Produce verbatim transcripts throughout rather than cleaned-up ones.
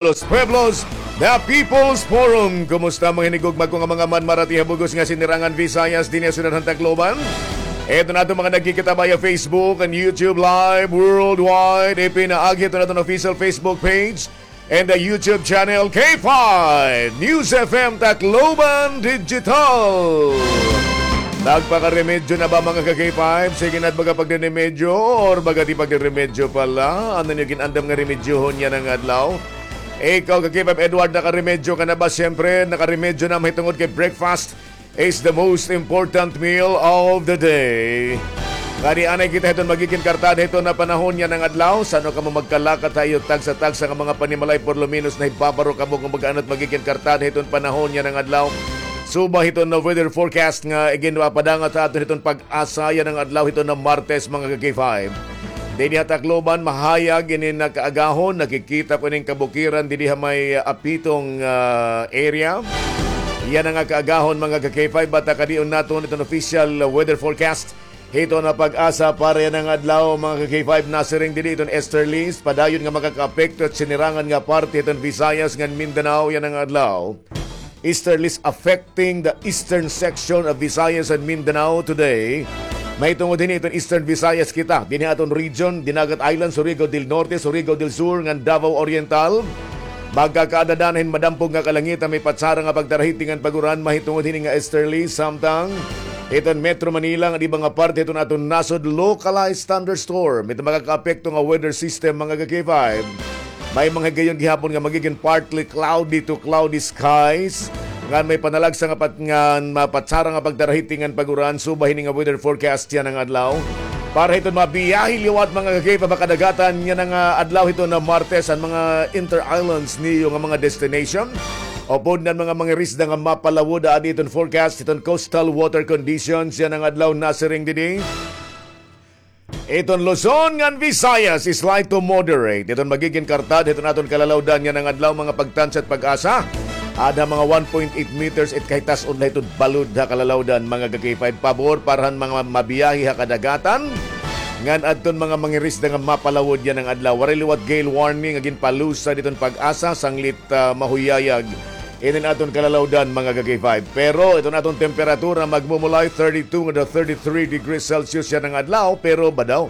Los Pueblos, the People's Forum. Kumusta mga hinigugma ko nga mga manmarati ha bug-os nga sinirangan Visayas dinhi ha syudad han Tacloban? Ito na aton mga nagkikita via Facebook and YouTube Live worldwide. Ipinaagi ito na aton official Facebook page and the YouTube channel K five News F M Tacloban Digital. Nagpakaremedyo na ba, mga ka-K five? Sige na, baga pagriremedyo or baga di pagriremedyo pala? Ano niyo gin-andam nga remedyohon yana nga adlaw? Ikaw, ka-K five Edward, nakaremedyo ka na ba? Siyempre, nakaremedyo na mahitungod kay breakfast is the most important meal of the day. Ngani anay kita hiton magigin kartada hiton na panahon yana nga adlaw. San-o kamo magkalakat ha iyo tagsa-tagsa nga mga panimalay, por lo menos nahibabaro kamo kon baga ano it magigin kartada hiton panahon yana nga adlaw. Suba hiton na weather forecast nga iginpapadangat ha aton hiton PAGASA yana nga adlaw hiton na Martes, mga ka-K five. Dinhi ha Tacloban, mahayag ini nga kaagahon, nakikita ko ining kabukiran dinhi ha may, ah, Apitong, ah, area. Yana nga kaagahon, mga ka-K five, batakadion naton iton official, ah, weather forecast hiton na PAGASA para yana nga adlaw, mga ka-K five, nasiring dinhi iton easterlies, padayon nga makakaapekto hit sinirangan nga parte hiton Visayas ngan Mindanao yana nga adlaw. Easterlies affecting the eastern section of Visayas and Mindanao today. Mahitungod hini iton Eastern Visayas kita, dinhi aton region, Dinagat Island, Surigao del Norte, Surigao del Sur, ngan Davao Oriental. Magkakaada hin madampog nga kalangitan, may patsara nga pagtarahiting ngan pag-uran mahitungod hini nga easterly, samtang iton Metro Manila ngan iba nga parte hiton aton nasod, localized thunderstorm. Ito makakaapekto nga weather system, mga ka-K five. May mga higayon gihapon nga magigin partly cloudy to cloudy skies. Ngan may panalagsa nga pat-, ngan mapatsara nga pagtarahiting ngan pag-uran, suba hini nga weather forecast yana nga adlaw. Para hiton mabiyahe liwat, mga ka-K five, ha kadagatan yana nga adlaw hiton na Martes, an mga inter-islands niyo nga mga destination, upod nan mga mangirisda nga mapalawod, adi iton forecast hiton coastal water conditions yana nga adlaw, nasiring didi. Iton Luzon ngan Visayas is light to moderate. Iton magigin kartada hiton aton kalalawdan yana nga adlaw, mga pagtansya hit PAGASA. Ada mga one point eight meters it kahitas-on la hiton balod ha kalalawdan, mga ka-K five, pabor para han mga mabiyahe ha kadagatan. Ngan adton mga mangirisda nga mapalawod yana nga adlaw. Waray liwat gale warning nga ginpalusad hiton PAGASA, sanglit, ah, mahuyayag inin aton kalalawdan, mga ka-K five. Pero iton aton temperatura magmumulay thirty-two ngan thirty-three degrees Celsius yana nga adlaw, pero badaw,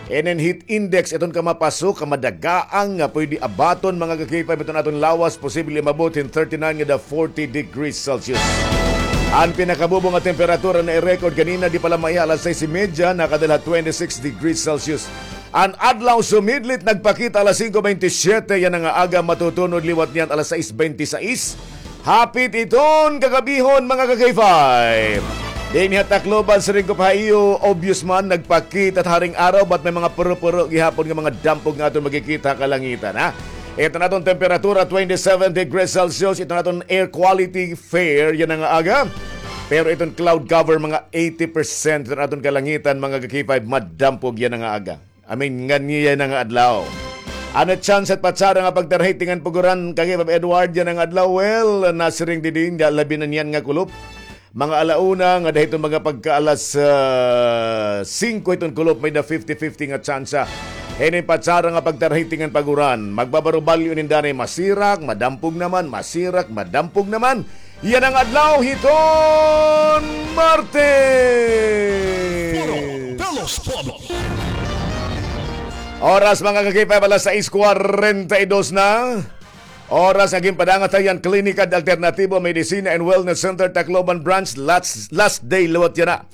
inin heat index iton kamapasok, kamadagaang nga pwede abaton, mga ka-K five, iton aton lawas, posible umabot hin thirty-nine ngan forty degrees Celsius. An pinakabubo nga temperatura na i-record ganina, di pa la maiha alas sais y media, nakadala twenty-six degrees Celsius. An adlaw sumidlit, nagpakita alas singko bente siyete yana nga aga, matutunod liwat niyan alas sais bente sais. Hapit iton kagabihon, mga ka-K five. Dinhi ha Tacloban, siring ko pa ha iyo, obvious man, nagpakita it haring araw, but may mga puro-puro gihapon nga mga dampog nga aton makikita ha kalangitan, ha? Iton aton temperatura, twenty-seven degrees Celsius, iton aton air quality fair yana nga aga. Pero iton cloud cover, mga eighty percent, iton aton kalangitan, mga ka-K five, madampog yana nga aga. I mean, ngan yana nga adlaw. Ano chance hit patsara nga pagtarahiting ngan pag-uran, ka-K five Edward, yana nga adlaw? Well, nasiring didi, labi na niyan nga kulop. Mga ala una ngada hiton mga pagka alas, ah, singko hiton kulop, may-da fifty fifty nga tsansa. Hini patsara nga pagtarahiting ngan pag-uran. Magbabaro-balyo inin danay, masirak, madampog naman, masirak, madampog naman. Yana nga adlaw hiton Martes. Puro pelos todo. Oras, mga ka-K five, alas sais kwarenta y dos na. Oras nga ginpadangat ha iya an Klinika de Alternatibo Medicina and Wellness Center, Tacloban Branch, last, last day liwat yana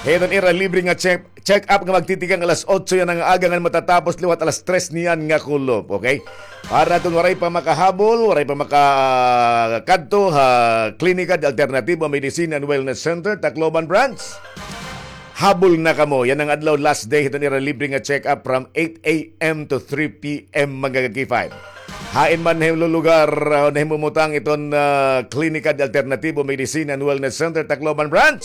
hiton ira libre nga check, check-up nga magtitikang alas otso yana nga aga ngan matatapos liwat alas tres niyan nga kulop, okay? Para kon waray pa makahabol, waray pa makakadto ha Klinika de Alternatibo Medicine and Wellness Center, Tacloban Branch, habol na kamo. Yana nga adlaw, last day hiton ira libre nga check-up from eight a.m. to three p.m., mga ka-K five. Hain man ha imo lugar, ah, nahimumutang iton, ah, Klinika de Alternatibo Medicine and Wellness Center, Tacloban Branch?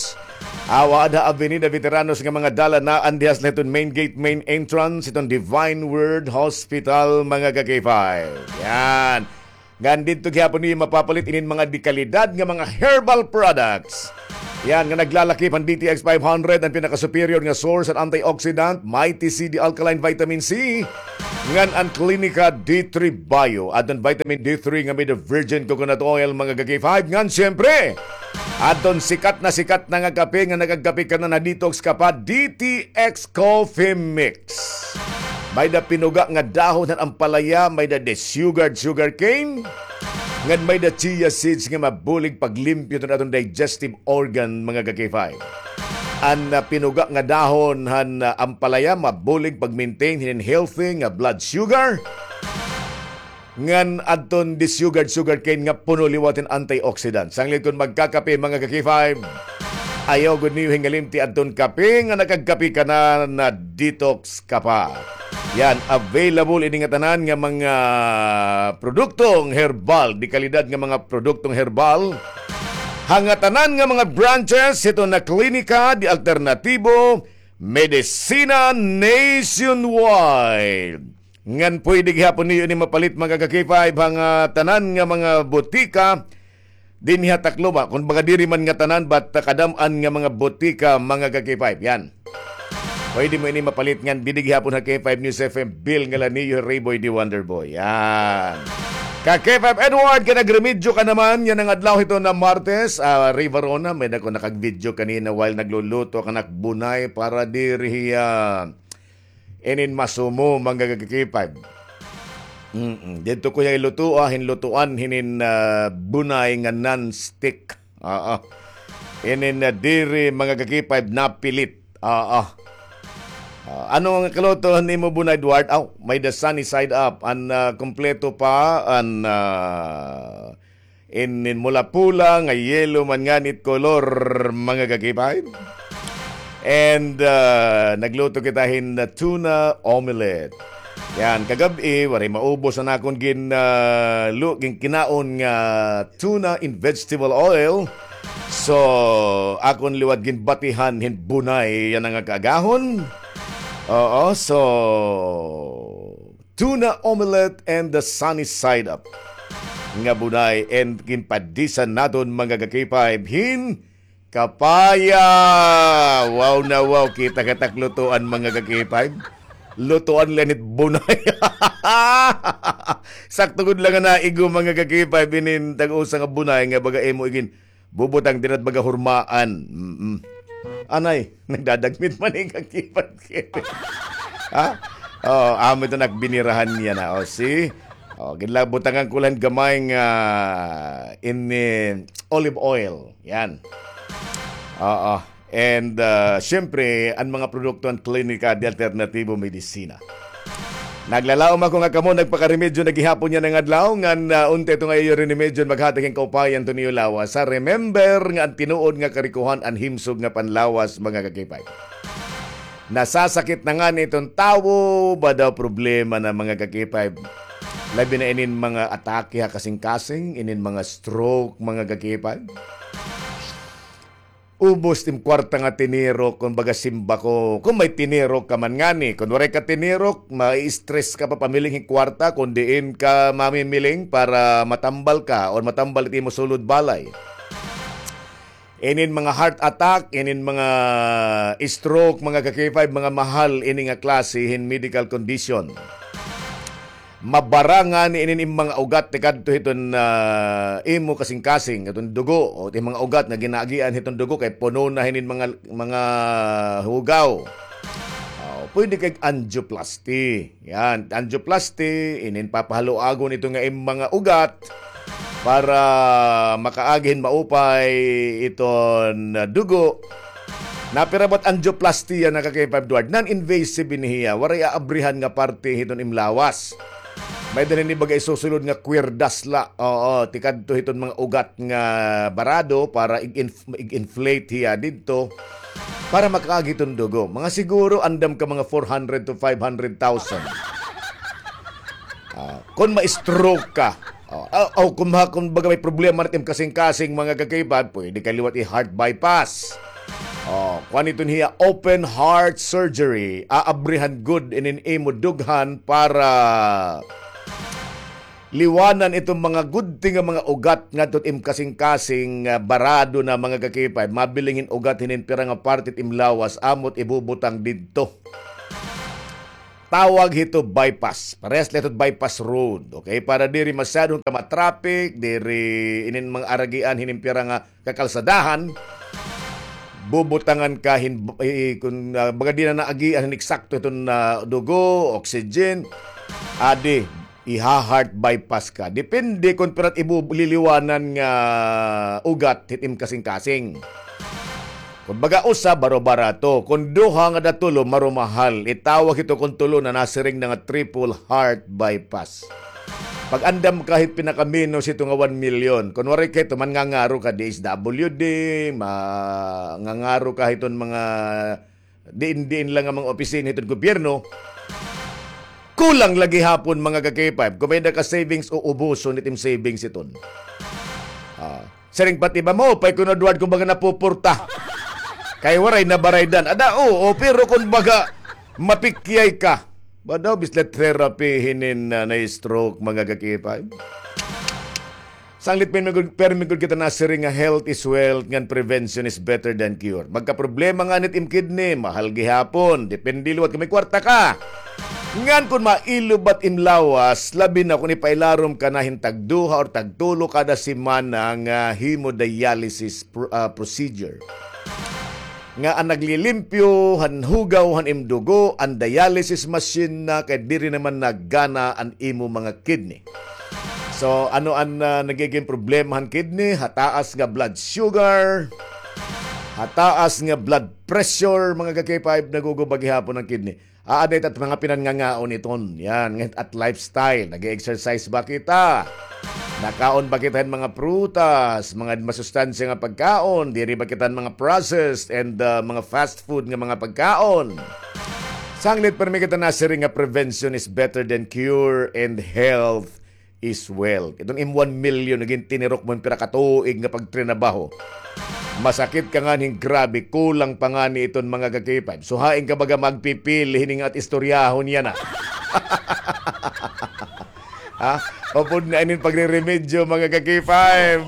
Awa, ada Avenida Veteranos nga mga dalan, naan dihas la hiton main gate, main entrance hiton Divine Word Hospital, mga ka-K five. Yan. Ngan didto gihapon niyo mapapalit inin mga dekalidad nga mga herbal products. Yan, nga naglalakip han D T X five hundred, an pinaka-superior nga source han antioxidant, Mighty C D Alkaline Vitamin C. Ngan an Klinika D three Bio, adton vitamin D three nga may-ada virgin coconut oil, mga ka-K five. Ngan siyempre, adton sikat na sikat na nga kape nga nakagkape ka na, na-detox ka pa, D T X Coffee Mix. May-ada pinuga nga dahon han ampalaya, may-ada desugared sugarcane, ngan may-ada chia seeds nga mabulig paglimpyo hiton aton digestive organ, mga ka-K five. An, ah, pinuga nga dahon han, ah, ampalaya mabulig pag-maintain hinin healthy nga blood sugar. Ngan adton desugared sugarcane nga puno liwat hin antioxidant. Sanglit kon magkakape, mga ka-K five, ayaw gud niyo hingalimti adton kape nga nakagkape ka na, na-detox ka pa. Yan, available ini nga tanan nga mga produktong herbal, de kalidad nga mga produktong herbal, ha ngatanan nga mga branches hiton Klinika de Alternativo Medicina Nationwide. Ngan pwede gihapon niyo ini mapalit, mga ka-K five, ha ngatanan nga mga botika dinhi ha Tacloban. Kumbaga, diri man ngatanan, but, ah, kadam-an nga mga botika, mga ka-K five. Yan. Pwede mo ini mapalit ngan didi gihapon ha K five News F M, Bill Ngalanillo, Rayboy D Wonderboy. Yan. Ka-K five Edward, ka nagremedyo ka naman, yana nga adlaw hiton Martes, ah, Ray Varona, may-ada ko nakag-video kanina while nagluluto ak han ak bunay para diri hiya inin masumo, mga ka-K five. Mm-mm. Didto ko hiya ilutoa, hin lutoan hinin, ah, bunay nga non-stick. Oo. Inin, ah, diri, mga ka-K five, napilit. Oo. Ah, ano nga kaluto nimo, bunay, Edward? Aw, may-ada sunny side up. An, ah, kompleto pa, an, ah, inin mula pula nga yellow man ngani it kolor, mga ka-K five. And, ah, nagluto kita hin tuna omelette. Yan, kagab-i, waray maubos an akon gin, ah, lu-, ginkinaon nga tuna in vegetable oil. So, akon liwat ginbatihan hin bunay yana nga kaagahon. Oo, so, tuna omelette and the sunny side up nga bunay, and ginpadisan naton, mga ka-K five, hin kapaya. Wow na wow, kita ka tak lutoan, mga ka-K five. Lutoan la ini it bunay. Sakto gud la nga naigo, mga ka-K five, inin tag-usa nga bunay nga baga imo igin bubutang dida baga hurmaan. Mm-mm. Anay, nagdadagmit man ikaw, K five. Ha? Oh, amo ito nagbinirahan niya na. Oh, see? Oh, ginla-, butangan ko lang gamay nga in, eh, olive oil. Yan. Oo. And, ah, siyempre, an mga produkto han Klinika de Alternativo Medicina. Naglalaom ako nga kamo nagpakaremedyo na gihapon yana nga adlaw, ngan, ah, unta ito nga iyo rinimedyo maghatag hin kaupayan to niyo lawas. Ha, remember nga an tinuod nga karikohan an himsog nga panlawas, mga ka-K five. Nasasakit na ngani iton tawo, ba daw problema na, mga ka-K five. Labi na inin mga atake ha kasingkasing, inin mga stroke, mga ka-K five. Ubos it im kwarta nga tinirok, kon baga simba ko. Kon may tinirok ka man ngani, kon waray ka tinirok, ma-stress ka pa pamiling hin kwarta, kon diin ka mamimiling para matambal ka or matambal it imo sulod balay. Inin mga heart attack, inin mga stroke, mga ka-K five, mga mahal ini nga klase hin medical condition. Mabara ngani inin im mga ugat tikadto hiton, ah, imo kasingkasing, hiton dugo, o it im mga ugat nga ginaagian hiton dugo kay puno na hinin mga, mga hugaw. Oh, pwede kay angioplasty. Yan, angioplasty, inin papahaluagon ito nga im mga ugat para makaagi hin maupay iton, ah, dugo. Napira ba it angioplasty yana, ka-K five Edward? Non-invasive ini hiya. Waray aabrihan nga parte hiton im lawas. May-ada ini baga isusulod nga kwerdas la. Oo, tikadto hiton mga ugat nga barado para ig-inf-, ig-inflate hiya didto para makaagi hiton dugo. Mga siguro andam ka mga four hundred to five hundred thousand. Ah, kon ma-stroke ka, oh, ah, oh, kon ma-, kon baga may problema na it im kasingkasing, mga ka-K five, pwede ka liwat i-heart bypass. Oh, kuan iton hiya, open heart surgery. Aabrihan gud inin imo dughan para liwanan iton mga gudti nga mga ugat ngadto it im kasingkasing, ah, barado na, mga ka-K five. Mabiling hin ugat hinin pira nga parte it im lawas, amo it ibubutang didto. tawag hito bypass. Parehas la hito bypass road. Okay? Para diri masyadong ka matraffic, diri inin mga aragian, hinin pira nga kakalsadahan, bubutangan ka hin, i-, kun, ah, baga di na naagian hin eksakto hiton, ah, dugo, oxygen, adi, iha-heart bypass ka. Depende kun pira it ibu-, liliwanan nga ugat hit im kasingkasing. Kun baga usa, baro-barato. Kun duha ngada tulo, marumahal. Itawag hito kun tulo na, nasiring na nga triple heart bypass. Pag-andam ka hit pinakamenos hito nga one million. Kun waray ka hito, mangangaro ka D S W D, mangangaro ka hiton mga diin-diin lang nga mga opisina hiton gobyerno. Kulang la gihapon, mga ka-K five. Kun may-ada ka savings, uubuson it im savings hiton. Ah, siring pa it iba, maupay kuno, Edward, kun baga napuporta. Kay waray nabaraydan. Ada, oo, pero kun baga mapikyay ka. Ba daw, bislet therapy hinin, ah, na-stroke, mga ka-K five. Sanglit, permi gud, permi gud kita nasiring nga health is wealth, ngan prevention is better than cure. Magkaproblema ngani it im kidney, mahal gihapon. Depende liwat kun may kwarta ka. Ngan kun mailobat im lawas, labi na kun ipailarom ka na hin tagduha or tagtulo kada semana nga hemodialysis pro-, ah, procedure. Nga an naglilimpyo han hugaw han im dugo, an dialysis machine na, kay diri naman nagana an imo mga kidney. So, ano an, ah, nagiging problema han kidney? Hataas nga blood sugar, hataas nga blood pressure, mga ka-K five, naguguba gihapon an kidney. Aada it at mga pinanngangaon iton. Yan, ngan it lifestyle. Nag-exercise ba kita? Nakaon ba kita hin mga prutas, mga masustansya nga pagkaon? Diri ba kita hin mga processed and, ah, mga fast food nga mga pagkaon? Sanglit, permi kita nasiring nga prevention is better than cure and health is wealth. Iton im one million, nagin tinirok mo hin pira ka tuig nga pagtrinabaho. Masakit ka ngani hin grabe, kulang pa ngani iton, mga ka-K five. So, hain ka baga magpipil hini nga at istoryahon yana? Ha? Upod na inin pagreremedyo, mga ka-K five.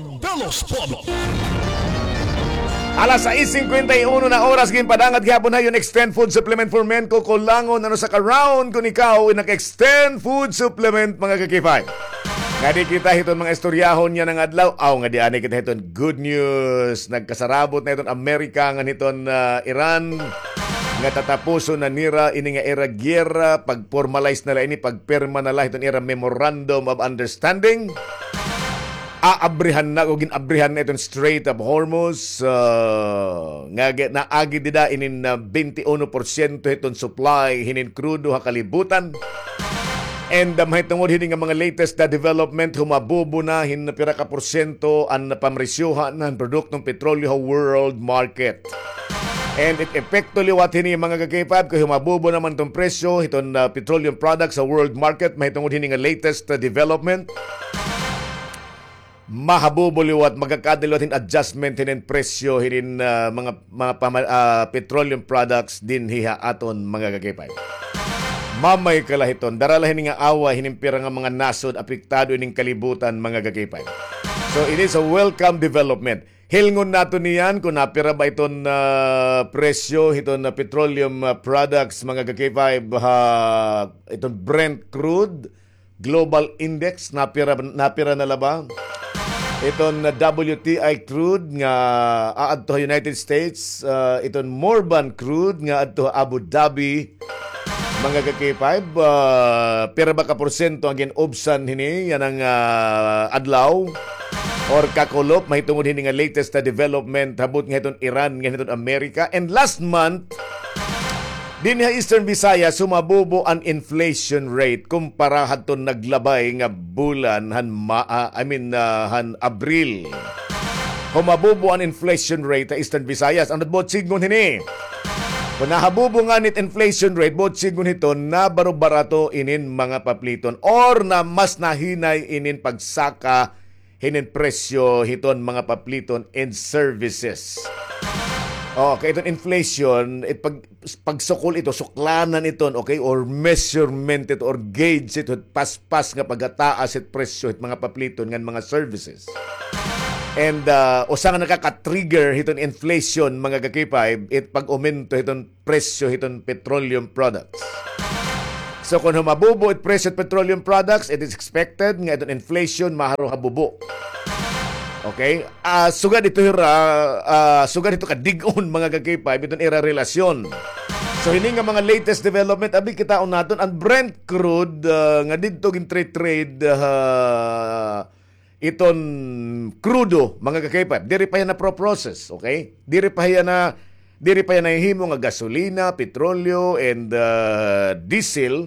Alas sais singkwenta y uno na oras, ginpadangat gihapon ha iyo an Extend Food Supplement for Men. Kukulangon an usa ka round kun ikaw nag-Extend Food Supplement, mga ka-K five. Ngadi kita hiton mga istoryahon yana nga adlaw. Aw, ngadi anay kita hiton good news. Nagkasarabot na hiton Amerika ngan hiton, ah, Iran nga tatapuson na nira ini nga ira giyera, pag-formalize na la ini, pagpirma na la hiton ira Memorandum of Understanding. Aabrihan na o gin-abrihan na iton Strait of Hormuz, ah, nga gi-, naagi dida inin, ah, twenty-one porsyento hiton supply hinin krudo ha kalibutan. And, ah, mahitungod hini nga mga latest na development, humabubo na hin pira ka porsyento an pamresyohan han produktong petrolyo ha world market. And it epekto liwat hini, mga ka-K five, kay humabubo naman iton presyo hiton, ah, petroleum products sa world market, mahitungod hini nga latest, ah, development. Mahabubo liwat, magkakaada liwat hin adjustment hinin presyo hinin, ah, mga, mga pama-, ah, petroleum products dinhi ha aton, mga ka-K five. Mamay ka la hiton, dara la hini nga away hinin pira nga mga nasod, apektado ining kalibutan, mga ka-K five. So, it is a welcome development. Hilngon naton niyan kun napira ba iton, ah, presyo hiton, ah, petroleum, ah, products, mga ka-K five, ha, iton Brent crude, global index, napira, napira na la ba? Iton, ah, W T I crude nga aadto ha United States, ah, iton Murban crude nga adto ha Abu Dhabi, mga ka-K five, ah, pira ba ka porsyento an gin-ubsan hini yana nga, ah, adlaw or kakulop, mahitungod hini nga latest na development habot nga hiton Iran ngan hiton Amerika. And last month, dinhi ha Eastern Visayas, humabubo an inflation rate kumpara hadton naglabay nga bulan han Ma-, ah, I mean, ah, han Abril. Humabubo an inflation rate ha Eastern Visayas. Ano it buot sidngon hini? Kun nahabubo ngani it inflation rate, buot sidngon hiton, nabaro-barato inin mga papliton or na mas nahinay inin pagsaka hinin presyo hiton mga papliton and services. Okay, iton inflation, it pag-, pagsukol ito, suklanan iton, okay, or measurement ito, or gauge ito, paspas nga paghataas it presyo hit mga papliton ngan mga services. And, ah, usa nga nakaka-trigger hiton inflation, mga ka-K five, it pag-umento hiton presyo hiton petroleum products. So, kon humabubo it presyo it petroleum products, it is expected nga iton inflation maharo habubo. Okay? Ah, sugad ito hira, ah, sugad ito kadig-on, mga ka-K five, iton ira relasyon. So, hini nga mga latest development, abi, kitaon naton, an Brent crude, ah, nga didto gin-trade, trade, ah, iton krudo, mga ka-K five, diri pa hiya na-pro-process, okay? Diri pa hiya na, diri pa hiya nahihimo nga gasolina, petrolyo, and, ah, diesel.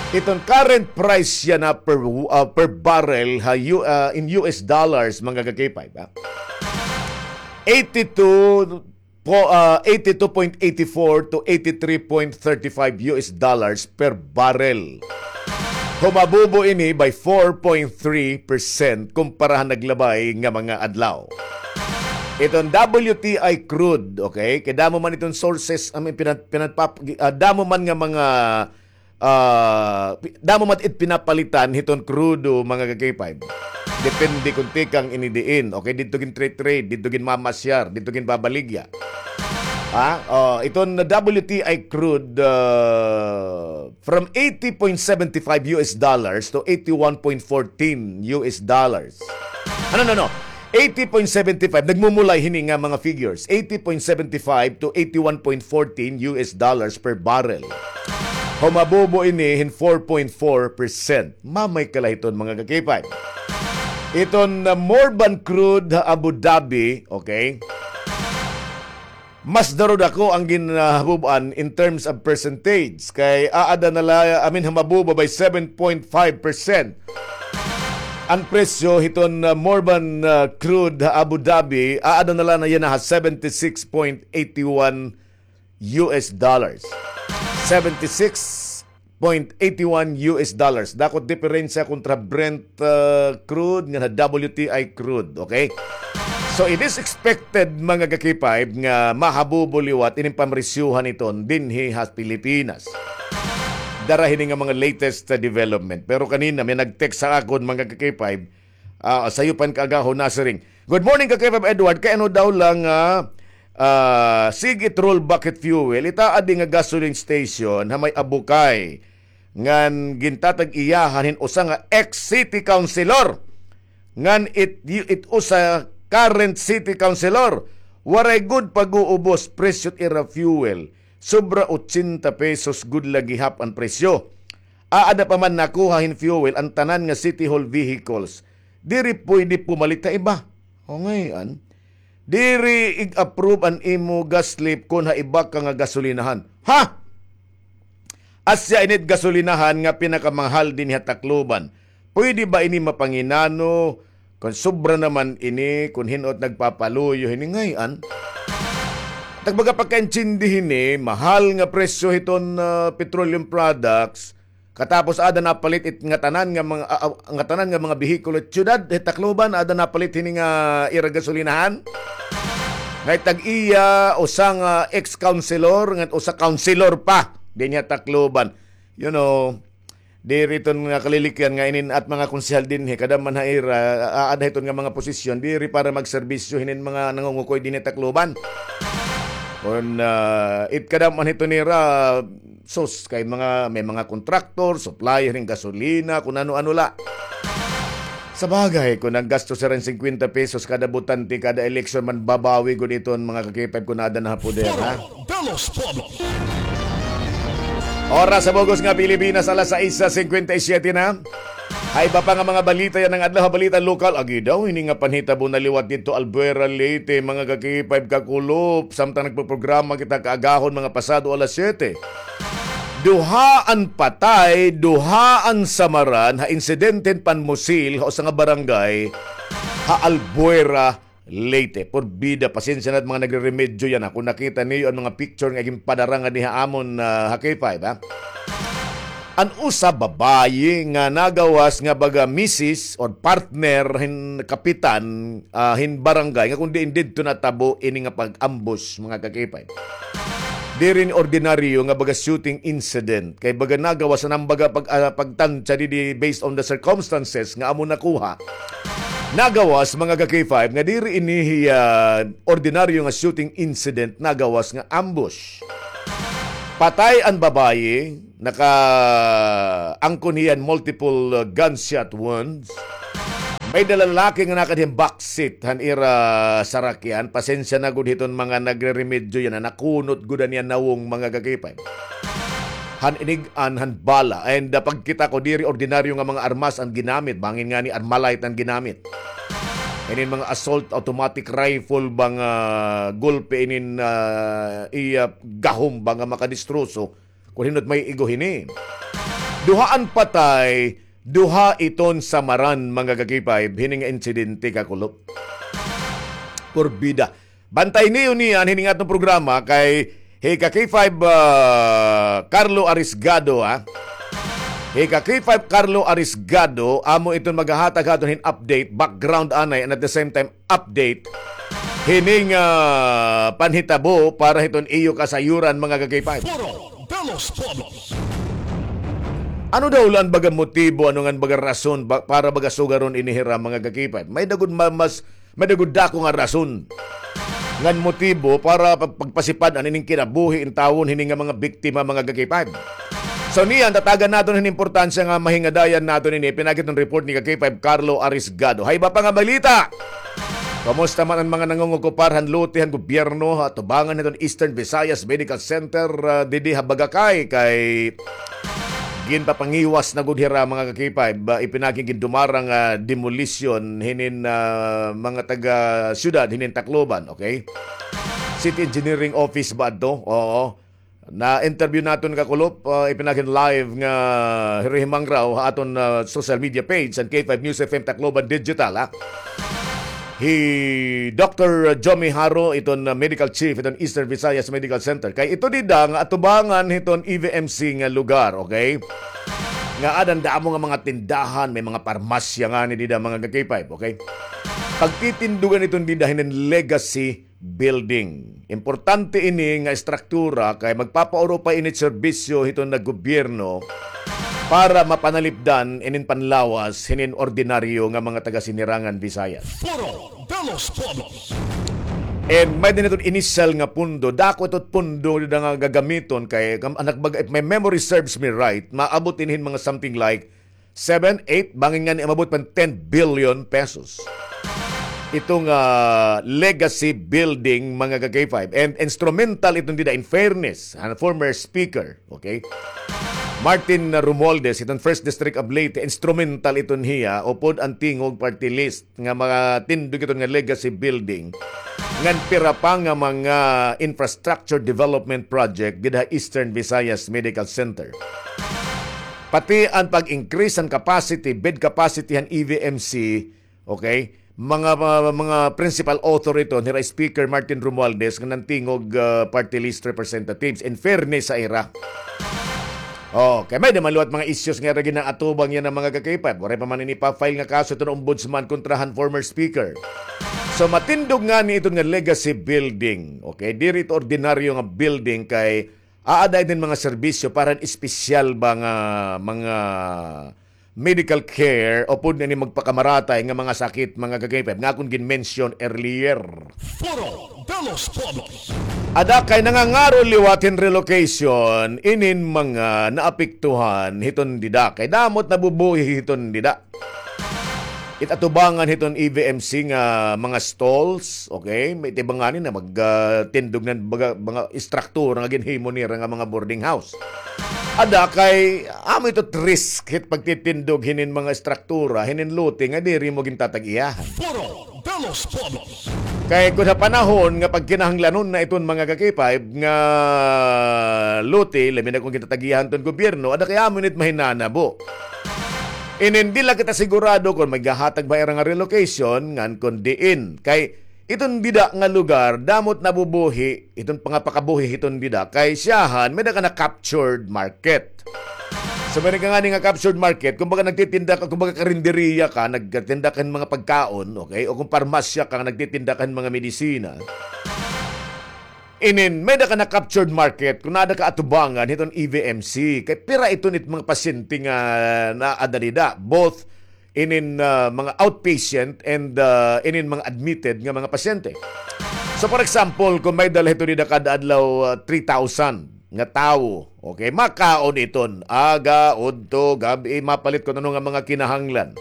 Iton current price yana per, ah, per barrel ha U-, ah, in U S dollars, mga ka-K five, ha? Eighty-two po, ah, eighty-two point eighty-four to eighty-three point thirty-five U S dollars per barrel. Humabubo ini by four point three percent kumpara han naglabay nga mga adlaw. Iton W T I crude, okay? Kay damo man iton sources, I mean, pinan-, pinanpap-, ah, damo man nga mga ah, pi-, damo man it pinapalitan hiton krudo, mga ka-K five. Depende kon tikang ini diin. Okay, didto gin-trade-trade, didto ginmamasyar, didto ginbabaligya. Ha? Oh, iton W T I crude, ah, from eighty point seventy five U S dollars to eighty-one point fourteen U S dollars. Ano, no, no. Eighty point seventy five, nagmumulay hini nga mga figures. Eighty point seventy five to eighty-one point fourteen U S dollars per barrel. Humabubo ini hin four point four percent. Mamay kalahiton, mga ka-K five. Iton, uh, Morban crude ha Abu Dhabi, okay? Mas darudako an ginhabubuan in terms of percentage. Kay aada na la, I mean, humabubo by seven point five percent. An presyo hiton, uh, Morban, uh, crude ha Abu Dhabi, aada na la yana ha seventy-six point eighty-one U S dollars. Seventy-six point eighty-one U S dollars. Dako it diperensya kontra Brent, uh, crude ngan ha W T I crude, okay? So, it is expected, mga ka-K five, nga mahabubo liwat ining pamresyuhan iton dinhi ha Pilipinas. Dara hini nga mga latest, uh, development. Pero kanina, may nag-text ha akon, mga ka-K five, ah, sayo pa hin kaagahon, nasiring, "Good morning, ka-K five Edward. Kay ano daw la nga, ah, sige it rollback it fuel, it aadi nga gasoline station ha may Abukay ngan gintatag-iyahan hin usa nga ex-city councilor, ngan it, it usa current city councilor, waray gud pag-uubos presyo it ira fuel. Sobra ochenta pesos gud la gihap an presyo. Aada pa man nakuha hin fuel an tanan nga City Hall vehicles. Diri pwede pumalit ha iba." O, ngay-an, diri ig-approve an imo gas slip kon ha iba ka nga gasolinahan. Ha? Asya ini it gasolinahan nga pinakamahal dinhi ha Tacloban. Pwede ba ini mapanginano? Kon sobra naman ini, kon hin-o it nagpapaluyo hini, ngay-an. Tag baga pagkaintindi hini, mahal nga presyo hiton, ah, petroleum products, katapos aada napalit it ngatanan nga mga, ah, ah, ngatanan nga mga behikulo hit syudad, hit Tacloban, aada napalit hini nga ira gasolinahan. Nga it tag-iya, usa nga ex-councilor, nga usa councilor pa dinhi ha Tacloban. You know, diri iton nga kalilikyan nga inin at mga konsehal dinhi, kada man ha ira, aada hiton nga mga posisyon, diri para magserbisyo hinin mga nangungukoy dinhi ha Tacloban. Kon, ah, it kada man hiton nira, sus, kay mga, may mga kontraktor, supplier hin gasolina, kon ano-ano la. Sa bagay, kon naggastos hira hin singkwenta pesos kada botante, kada eleksyon, manbabawi gud iton mga ka-K five kon aada na ha poder, ha? Foro de los Pueblos. Oras sa bug-os nga Pilipinas, alas sais cincuenta y siete na. Ha iba pa nga mga balita yana nga adlaw, ha balita lokal, agi daw hini nga panhitabo na liwat didto Albuera, Leyte, mga ka-K five, kakulop, samtang nagpoprograma kita kaagahon, mga pasado alas siyete. Duha an patay, duha an samaran ha insidente hin panmusil ha usa nga barangay ha Albuera, Leyte. Porbida, pasensya na it mga nagreremedyo yana, ha. Kon nakita niyo an mga picture nga ginpadara ngadi ha amon, ah, ha K five, ha? An usa babayi nga nagawas nga baga misis or partner hin kapitan, ah, hin barangay nga kon diin didto natabo ini nga pag-ambush, mga ka-K five. Diri ini ordinaryo nga baga shooting incident. Kay baga nagawas na baga pag, ah, pagtansya didi based on the circumstances nga amo nakuha. Nagawas, mga ka-K five, nga diri ini hiya ordinaryo nga shooting incident, nagawas nga ambush. Patay an babayi, naka-, angkon hiya hin multiple, uh, gunshot wounds. May-ada lalaki nga nakadto hin backseat han ira sarakyan. Pasensya na gud hiton mga nagreremedyo yana, nakunot gud an iya nawong, mga ka-K five. Han inig-an han bala. And, uh, pagkita ko, diri ordinaryo nga mga armas an ginamit. Bangin ngani Armalite an ginamit. Inin mga assault automatic rifle ba nga gulpi inin, uh, iya gahom ba nga makadistroso. Kon hin-o it may igo hini. Duha an patay, duha iton samaran, mga ka-K five, hini nga insidente, kakulop. Porbida. Bantay niyo niyan hini nga aton programa kay hi ka-K five, ah, Carlo Arisgado, ha. Hi ka-K five Carlo Arisgado, amo iton maghahatag ha aton hin update, background anay, and at the same time, update hining, ah, panhitabo para hiton iyo kasayuran, mga ka-K five. Foro de los Pueblos. Ano daw la an baga motibo, ano ngan baga rason ba, para baga sugaron ini hira, mga ka-K five? May-ada gud ma-, mas, may-ada gud dako nga rason ngan motibo para pag-, pagpasipad-an ining kinabuhi intawon hini nga mga biktima, mga ka-K five. So niyan, tatagan naton hin importansya nga mahingadayan naton ini, pinagi hiton report ni ka-K five Carlo Arisgado. Ha iba pa nga balita, kumusta man an mga nangungokupar han lote han gobyerno ha atubangan hiton Eastern Visayas Medical Center, ah, didi ha Bagakay, kay ginpapangiwas na gud hira, mga ka-K five, ah, ipinagi hin gindumarang, ah, demolition hinin, ah, mga taga-syudad hinin Tacloban, okay? City Engineering Office ba adto? Oo. Na-interview naton, kakulop, ah, ipinagi hin live nga hirihimangraw ha aton, ah, social media page, an K five News F M Tacloban Digital, ha. Hi Doctor Jomi Haro, iton, ah, medical chief iton Eastern Visayas Medical Center. Kay ito dida nga atubangan hiton E V M C nga lugar, okay? Nga aada an damo nga mga tindahan, may mga parmasya ngani dida, mga ka-K five, okay? Pagtitindugan iton dida hinin Legacy Building. Importante ini nga estruktura kay magpapaurupay ini serbisyo hiton nga gobyerno para mapanalipdan inin panlawas hinin ordinaryo nga mga taga-Sinirangan Visayas. Foro de los Pueblos. And may-ada hiton initial nga pondo. Dako ito pondo nga gagamiton kay, kam-, anak baga, if my memory serves me right, maabot ini hin mga something like seven, eight, bangin ngani umabot pa hin ten billion pesos. Ito nga, ah, legacy building, mga ka-K five. And instrumental iton dida, in fairness, an former speaker, okay? Martin Romualdez, iton First District of Leyte, instrumental iton hiya, upod an Tingog Party List, nga mga tindog iton nga legacy building, ngan pira pa nga mga infrastructure development project dida ha Eastern Visayas Medical Center. Pati an pag-increase han capacity, bed capacity han E V M C, okay? Mga, mga, mga principal author ito, hira Speaker Martin Romualdez, ngan an Tingog, ah, Party List representatives. In fairness ha ira. Okay, may-ada man liwat mga issues nga ira gin-aatubang yana, mga ka-K five. Waray pa man ini pa-file nga kaso iton ombudsman kontra han former speaker. So, matindog ngani iton nga legacy building. Okay, diri ito ordinaryo nga building kay aada inin mga serbisyo para han espesyal ba nga mga medical care upod na ini magpakamaratay nga mga sakit, mga ka-K five, nga akon gin-mention earlier. Foro de los Pueblos. Ada kay nangangaro liwat hin relocation inin mga naapektuhan hiton dida. Kay damo it nabubuhi hiton dida. It atubangan hiton E V M C nga mga stalls, okay? May tibangan ni na mag, ah, tindog na baga, mga istruktura nga ginhimo nira nga mga boarding house. Ada kay, amo ito risk hit pagtitindog hinin mga istruktura, hinin lote nga diri mo gintatag-iyahan. Foro de los Pueblos. Kay kun ha panahon nga pagkinahanglanon na iton mga ka-K five nga lote, labi na kun gintatag-iyahan ton gobyerno, ada kay amo init mahinanabo. Inin di la kita sigurado kon maghahatag ba ira nga relocation ngan kon diin. Kay iton dida nga lugar, damo it nabubuhi, iton pangapakabuhi hiton dida. Kay siyahan, may-ada ka na captured market. So, may-ada ka ngani nga captured market, kumbaga nagtitinda ka, kumbaga karinderiya ka, nagtitinda ka hin mga pagkaon, okay? O kung parmasya ka, nagtitinda ka hin mga medisina. Inin, may-ada ka na captured market, kun aada ka atubangan hiton E V M C. Kay pira iton it mga pasyente nga naada dida, both inin, ah, mga outpatient and, ah, inin mga admitted nga mga pasyente. So, for example, kung may-ada la hito dida kada adlaw, ah, three thousand, nga tawo. Okay, makaon iton. Aga, udto, gab-i, mapalit kun ano nga mga kinahanglan.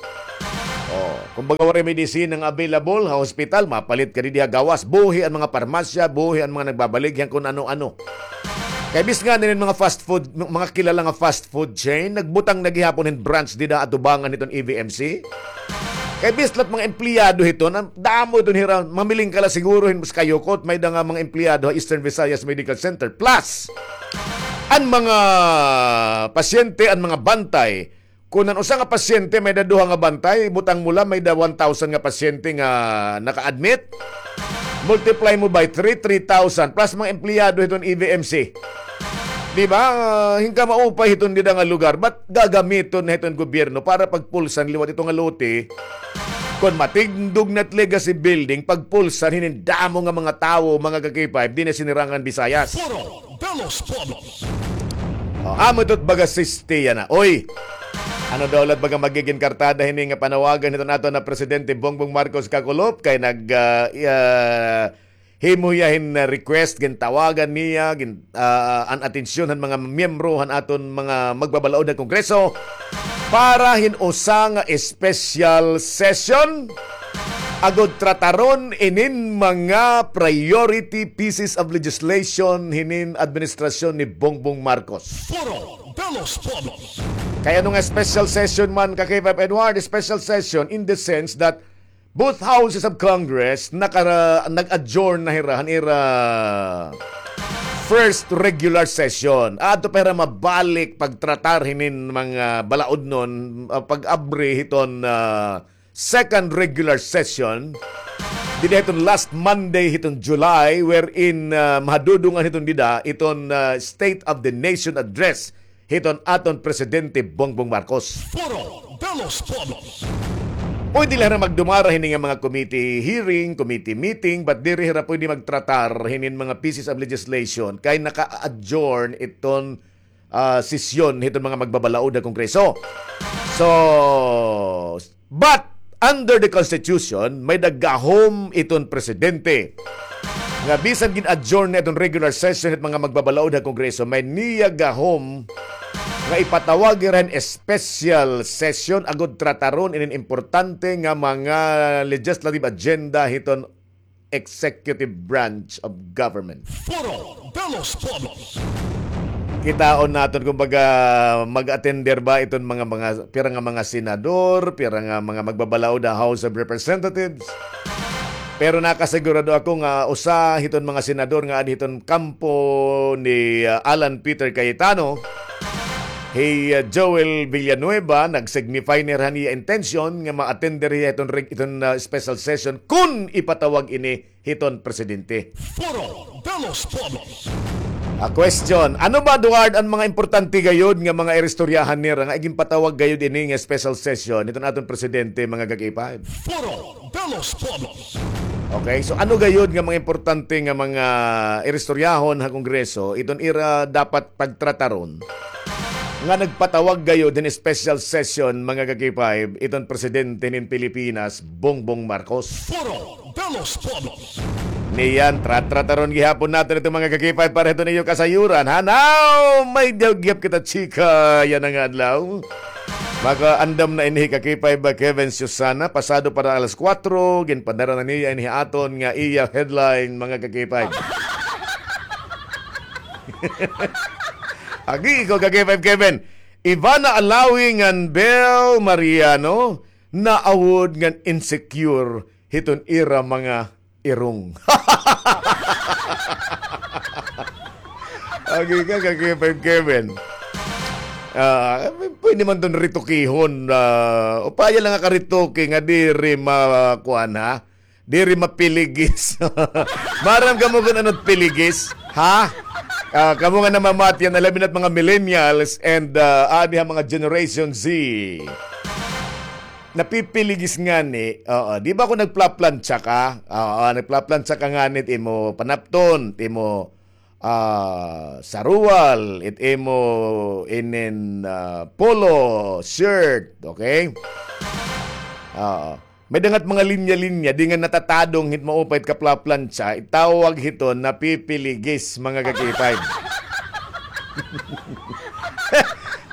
Oh, kumbaga, waray medisina nga available ha hospital, mapalit ka didi ha gawas. Buhi an mga parmasya, buhi an mga nagbabaligya hin kun ano-ano. Kay bis ngani hin mga fast food, mga kilala nga fast food chain, nagbutang na gihapon hin branch dida ha atubangan hiton E V M C. Kay bis la it mga empleyado hiton, damo hiton hira, mamiling ka la siguro hin mas kayukot, may-ada nga mga empleyado ha Eastern Visayas Medical Center. Plus, an mga pasyente, an mga bantay, kun an usa nga pasyente may-ada duha nga bantay, butang mo la may-ada one thousand nga pasyente nga naka-admit, multiply mo by three, three thousand, plus mga empleyado hiton E V M C. Di ba? Ah, hin kamaupay hiton dida nga lugar, ba't gagamiton na hiton gobyerno para pagpulsan liwat ito nga lote? Kon matindog na it Legacy Building, pagpulsan hinin damo nga mga tawo, mga ka-K five, dinhi ha Sinirangan Visayas. Foro de los Pueblos. Oh, amo ito it baga sistema na. Oy, ano daw la it baga magigin kartada hini nga panawagan hiton aton nga Presidente Bongbong Marcos, kakulop, kay nag, ah, ah, himo hiya hin, ah, request, gintawagan niya, gin-, ah, an atensyon han mga miyembro han aton mga magbabalaod ha Kongreso para hin usa nga special session agod trataron inin mga priority pieces of legislation hinin administrasyon ni Bongbong Marcos. Foro de los Pueblos. Kay ano nga special session man, ka-K five Edward? Special session in the sense that both houses of Congress naka-, nag-adjourn na hira han ira first regular session. Adto pa hira mabalik pagtratar hinin mga balaodnon, ah, pag-abri hiton, ah, second regular session dida hiton last Monday hiton July, wherein, ah, mahadudungan hiton dida iton, ah, State of the Nation Address hiton aton Presidente Bongbong Marcos. Foro de los Pueblos. Pwede la hira magdumara hini nga mga committee hearing, committee meeting, but diri hira pwede magtratar hinin mga pieces of legislation kay naka-adjourn iton, ah, sesyon hiton mga magbabalaod ha Kongreso. So, but under the Constitution, may-ada gahom iton presidente nga bisan gin-adjourn na iton regular session hit mga magbabalaod ha Kongreso, may niya gahom nga ipatawag hira hin special session agod trataron inin importante nga mga legislative agenda hiton executive branch of government. Foro de los Pueblos. Kitaon naton, kumbaga, mag-attender ba iton mga, mga, pira nga mga senador, pira nga mga magbabalaod ha House of Representatives. Pero nakasigurado ako nga usa hiton mga senador nga adi hiton kampo ni, ah, Alan Peter Cayetano, hi, ah, Joel Villanueva, nag-signify na hira han iya intention nga ma-attender hiya hiton reg-, hiton, ah, special session kun ipatawag ini hiton presidente. Foro de los Pueblos. A question, ano ba, Eduard, an mga importante gayod nga mga iristoryahan nira nga iginpatawag gayod ini nga special session hiton aton presidente, mga ka-K five? Foro de los Pueblos. Okay, so ano gayod nga mga importante nga mga iristoryahon ha Kongreso iton ira dapat pagtrataron nga nagpatawag gayod hin special session, mga ka-K five, iton presidente hin Pilipinas, Bongbong Marcos? Foro de los Pueblos. Niyan, tra-, trataron gihapon naton ito, mga ka-K five, para hiton iyo kasayuran, ha? Now, may daw gihap kita, chika, yana nga adlaw. Makaandam na ini hi ka-K five, Kevin Susana, pasado para alas kuwatro, ginpadara na niya ini aton nga iya headline, mga ka-K five. Agi ko, ka-K five Kevin. Ivana Alawi ngan Bel Mariano, naawod ngan insecure hiton ira mga irong. Agi ka, ka-K five Kevin. Ah, pwede man ton ritukihon, ah, upaya la nga karituki nga diri ma-, kuan, ha? Diri mapiligis. Maaram kamo kon ano it piligis, ha? Ah, kamo nga namamati yana, labi na it mga millennials and, ah, adi ha mga Generation Z. Napipiligis ngani, oo. Di ba kon nagplaplantsa ka? Oo, nagplaplantsa ka ngani it imo panapton, it imo, ah, saruwal, it imo inin, ah, polo, shirt, okay? Oo. May dangat mga linya-linya, di nga natatadong hit maupay it kaplaplantsa, itawag hiton napipiligis, mga ka-K five.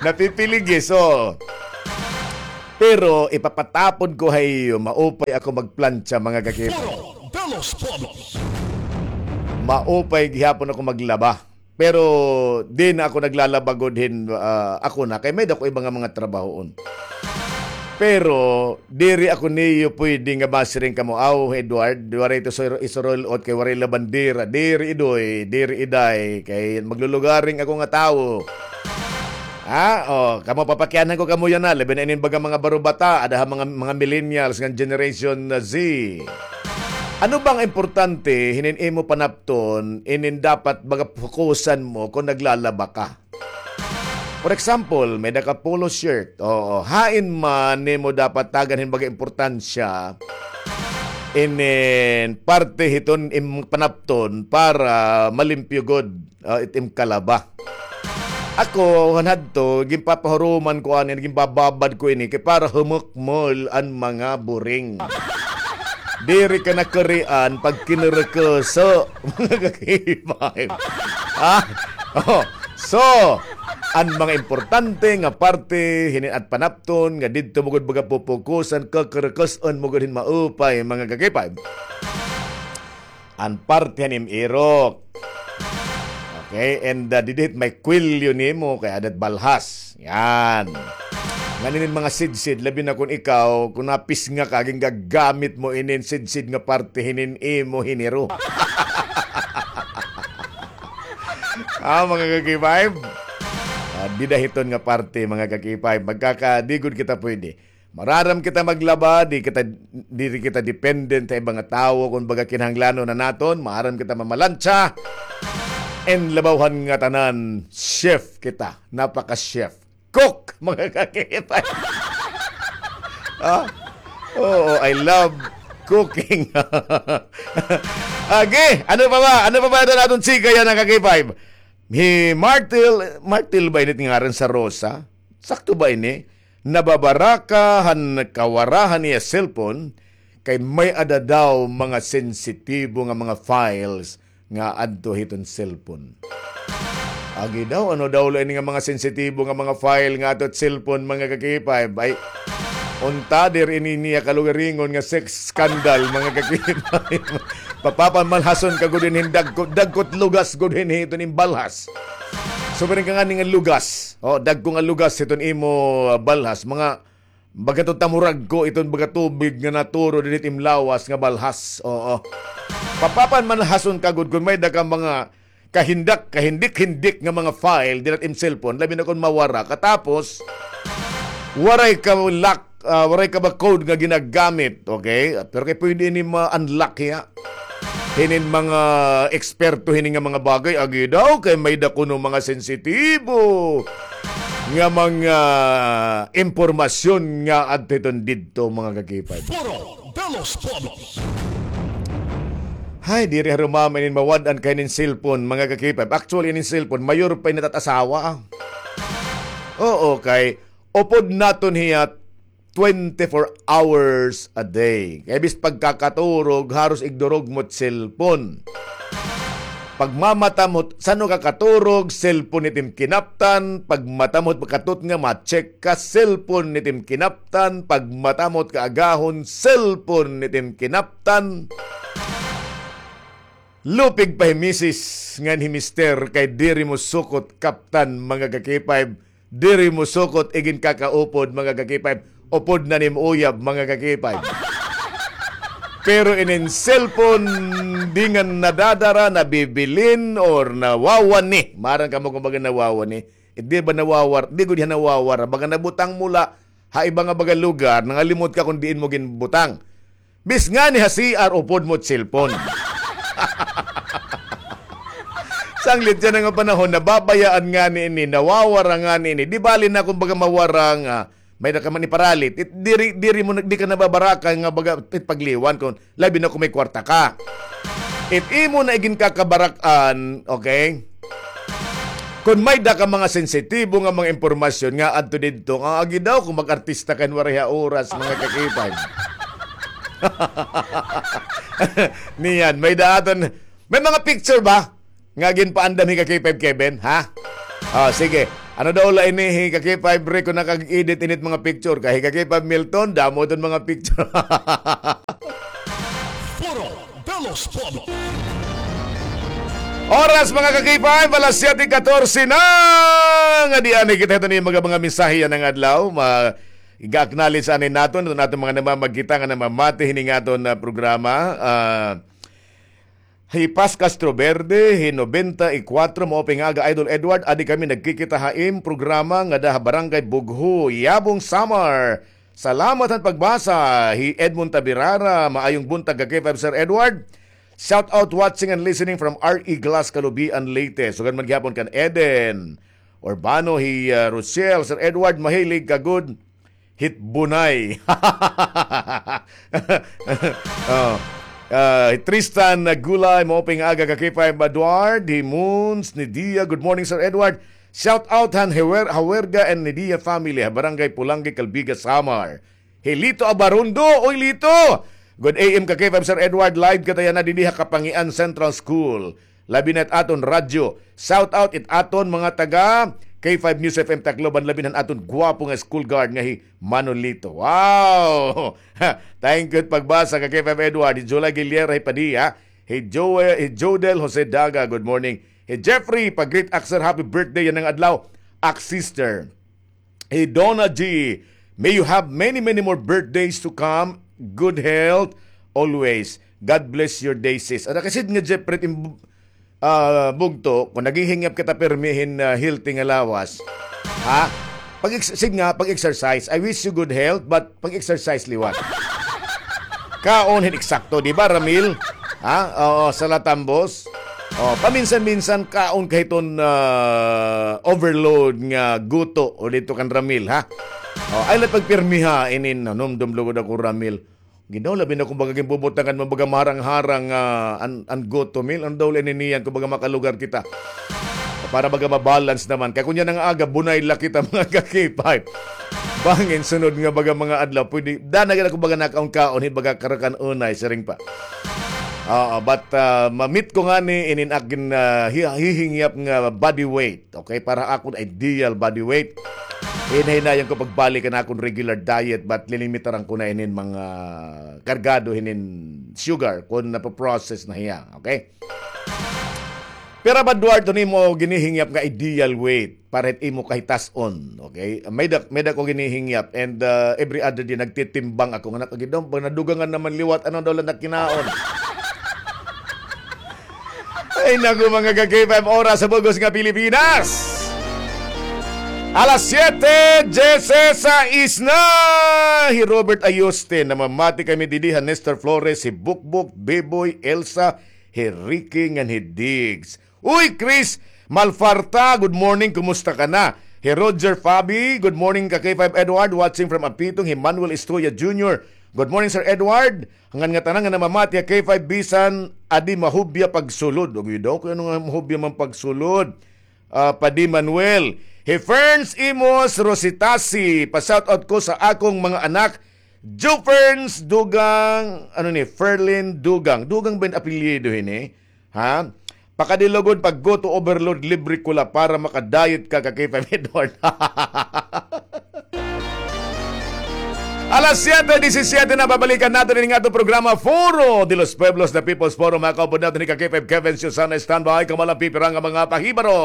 Napipiligis, oh. Pero ipapatapon ko ha iyo, maupay ako magplantsa, mga kakipay. Foro de los Pueblos. Maupay gihapon ako maglaba. Pero di na ako naglalaba gud hin, ah, ako na, kay may-ada ko iba nga mga trabahoon. Pero diri ako niyo pwede nga masiring kamo, "Aw, Edward, waray ito sur-, isuroy-ot kay waray labandera." Diri, Idoy, diri, Iday, kay maglulugaring ako nga tawo. Ha? Oh, kamo, papakianhan ko kamo yana, labi na inin baga mga barubata, ada ha mga, mga millennials ngan Generation Z. Ano ba ang importante hinin imo panapton, inin dapat baga fokusan mo kon naglalaba ka? For example, may-ada ka polo shirt. Oo, hain man nimo dapat tagan hin baga importansya inin parte hiton im panapton para malimpyo gud, ah, it im kalaba. Ako, han hadto, ginpapahuruman ko ani, ginbababad ko ini, kay para humukmol an mga buring. Diri ka nakurian pag kinurkuso, mga kakipay. Ha? Oh, so, an mga importante nga parte, hinin at panapton, nga didto mo gud baga pupukusan, kukurkuson mo gud hin maupay, mga kakipay. An parte han im irok. Okay, and, ah, didi hit may kwelyo nimo kay ada hit balhas. Yan. Ngan inin mga sidsid, labi na kon ikaw, kon napisnga ka, gingagamit mo inin sidsid nga parte hinin imo hiniro. Ah, mga ka-K five. Ah, dida hiton nga parte, mga ka-K five. Magkaka-, di gud kita pwede. Maaram kita maglaba, di kita, diri kita dependent ha iba nga tawo. Kon baga kinahanglanon na naton, maaram kita mamalantsa. And labaw han ngatanan, chef kita. Napaka-chef. Cook, mga ka-K five. Ah? Oo, I love cooking. Agi, ano pa ba? Ano pa ba ito naton chika yana, ka-K five? Hi Martil, Martil ba ini it ngaran sa Rosa? Sakto ba ini? Nababaraka han kawara han iya cellphone kay may-ada daw mga sensitibo nga mga files nga adto hiton cellphone. Agi daw, ano daw la ini nga mga sensitibo nga mga file nga adto hit cellphone, mga ka-K five? Ay, unta diri ini niya kalugaringon nga sex scandal, mga ka-K five. Papapanmalhason ka gud hin dagko, dagko hit lugas gud hin hiton im balhas. Sumiring ka ngani nga lugas. O, dagko nga lugas hiton imo, ah, balhas. Mga baga to tamurag ko iton baga tubig nga naturo dinhi hit im lawas nga balhas. Oo. Papapanmalhason ka gud kon may-ada ka mga kahindak, kahindik-hindik nga mga file dinhi hit im cellphone, labi na kon mawara ka. Tapos, waray ka lock, ah, waray ka ba code nga ginagamit, okay? Pero kay pwede ini ma-unlock hiya. Hinin mga eksperto hini nga mga bagay, agi daw, kay may-ada kuno mga sensitibo nga mga impormasyon nga adto hiton didto, mga ka-K five. Foro de los Pueblos. Hay, diri harumama inin mawad-an ka hinin cellphone, mga ka-K five. Actually, inin cellphone, mayor pa ini it at asawa, ah. Oo, kay upod naton hiya twenty-four hours a day. Kay bis pagkakaturog, haros igdurog mo it cellphone. Pagmamata mo, san-o ka katurog, cellphone it im kinaptan. Pagmata mo, pagkatutnga, ma-check ka, cellphone it im kinaptan. Pagmata mo kaagahon, cellphone it im kinaptan. Lupig pa hi misis ngan hi mister kay diri mo sukot kaptan, mga ka-K five. Diri mo sukot iginkakaupod, mga ka-K five. Upod na nim uyab, mga ka-K five. Pero inin cellphone, di nga nadadara, nabibilin, or nawawani. Maaram kamo kon baga nawawani. It di ba nawawar-, di gud hiya nawawara. Baga nabutang mo la ha iba nga baga lugar, nangalimot ka kon diin mo ginbutang. Bis ngani ha C R, upod mo it cellphone. Sanglit yana nga panahon, nababayaan ngani ini, nawawara ngani ini. Di bali na kon baga mawara nga, may-ada ka man iparalit. It, diri, diri mo na, di ka nababaraka nga baga it pagliwan kon labi na kon may kwarta ka. It imo na iginkakabarak-an, okay? Kon may-ada ka mga sensitibo nga mga impormasyon nga adto didto, nga agi daw kon mag-artista ka hin waray ha oras, mga ka-K five. Niyan, may-ada aton, may mga picture ba nga ginpaandam hi ka-K five Kevin, ha? Ah, sige. Ano daw la ini, hi ka K five Rico nakag-edit init mga picture. Kay hi ka K five Milton, damo iton mga picture. Foro de los Pueblos. Oras, mga ka K five, alas siyete katorse na. Nga di ani kita ito ni mga, mga mensahe yana nga adlaw. Ma-, ga-acknowledge ani naton, iton aton mga namamagkita nga namamati hini nga aton, ah, programa. Ah, Hi Paz Castro Verde, hi nobenta y kuwatro, maupay nga aga, Idol Edward, adi kami nagkikita ha im programa ngada ha Barangay Bugho, Yabong, Samar. Salamat han pagbasa. Hi Edmond Tabirara, maayong buntag ka K five Sir Edward. Shout out, watching and listening from R E Glass, Calubian, Leyte. Sugad man gihapon kan Eden Urbano, hi, ah, Rochelle, Sir Edward, mahilig ka gud hit bunay. Oh. Ah, Tristan Gulay, maupay nga aga ka K five Edward, hi Moons, Nidia, good morning, Sir Edward. Shout out han Hewer-, Hawerga and Nidia family, ha Barangay Pulangge, Calbiga, Samar. Hi Lito Abarundo, oy Lito! Good A M ka K five Sir Edward, live kita yana didi ha Kapangian Central School. Labi na it aton radyo. Shout out it aton mga taga K five News F M Tacloban, labi na han aton gwapo nga school guard nga hi Manolito. Wow! Thank you it pagbasa ka K five Edward. Hi July Guilera, hi Padilla. Hi Joel, hi Jodel Jose Daga, good morning. Hi Jeffrey, pa-greet ak sir, happy birthday yana nga adlaw. Ak sister. Hi Donna G, may you have many, many more birthdays to come. Good health always. God bless your day, sis. Ada kasid nga Jeffrey, ah, bugto, kon naghihingyap kita pirmi hin, ah, healthy nga lawas. Ha? Pag-ex-, sige nga, pag-exercise. I wish you good health, but pag-exercise liwat. Kaon hin eksakto, di ba, Ramil? Ha? Oo, sa latambos. Oh, paminsan-minsan kaon ka hiton, ah, overload nga guto o dito kan Ramil, ha? Oh, ay, la pagpirmiha inin, nanumdom lugod ako, Ramil. Ginoo, labi na kon baga ginbubutangan mo baga maharang-harang, ah, an, an guto, Mil. Ano daw la ini niyan kon baga makalugar kita? Para baga mabalance naman. Kay kunya nga aga, bunay la kita, mga ka-K five. Bangin sunod nga baga mga adlaw, pwede, dana gid ako baga nakaon-kaon, hi baga karakan unay, siring pa. Oo, but, ah, ma-meet ko ngani inin akin, ah, hi-, hihingyap nga body weight. Okay, para akon ideal body weight. Hinay-hinayan ko pagbalik an akon regular diet, but lilimitaran ko na inin mga kargado hinin sugar kon napoprocess na hiya. Okay? Pira ba, Duarte, an imo ginihingyap nga ideal weight para hit imo kahitas-on? Okay? May da, may da ko ginihingyap and, uh, every other day nagtitimbang ako nga nakagidom, pag nadugangan naman liwat, ano daw la nakinaon? Ay, naku, mga ka-K five, oras sa bug-os nga Pilipinas. Alas siyete, diyesesais na. Hi Robert Ayoste, namamati kami didi ha Nestor Flores, hi Bukbok, Beboy, Elsa, hi Ricky, ngan hi Diggs. Uy, Chris Malfarta, good morning, kumusta ka na? Hi Roger Fabi, good morning ka K five Edward, watching from Apitong, hi Manuel Estrella Junior. Good morning, Sir Edward. Ngan ngatanan nga namamati ha K five bisan adi mahubya pagsulod. Uy, daw, kay ano nga mahubya man pagsulod? Ah, Padi Manuel. Hi Ferns Imos Rositasi, pa-shoutout ko sa akong mga anak, Joe Ferns Dugang, ano ni, Ferlin Dugang. Dugang ba it apelyido hini? Ha? Pakadilugod pagguto overload, libre ko la para makadayot ka, ka K five Edward. Alas siyete disisiyete na, babalikan naton ini nga aton programa, Foro de los Pueblos, the People's Forum. Mga kaupod naton ni ka K five Kevin Susana, standby, kamo la pipira nga mga pahibaro.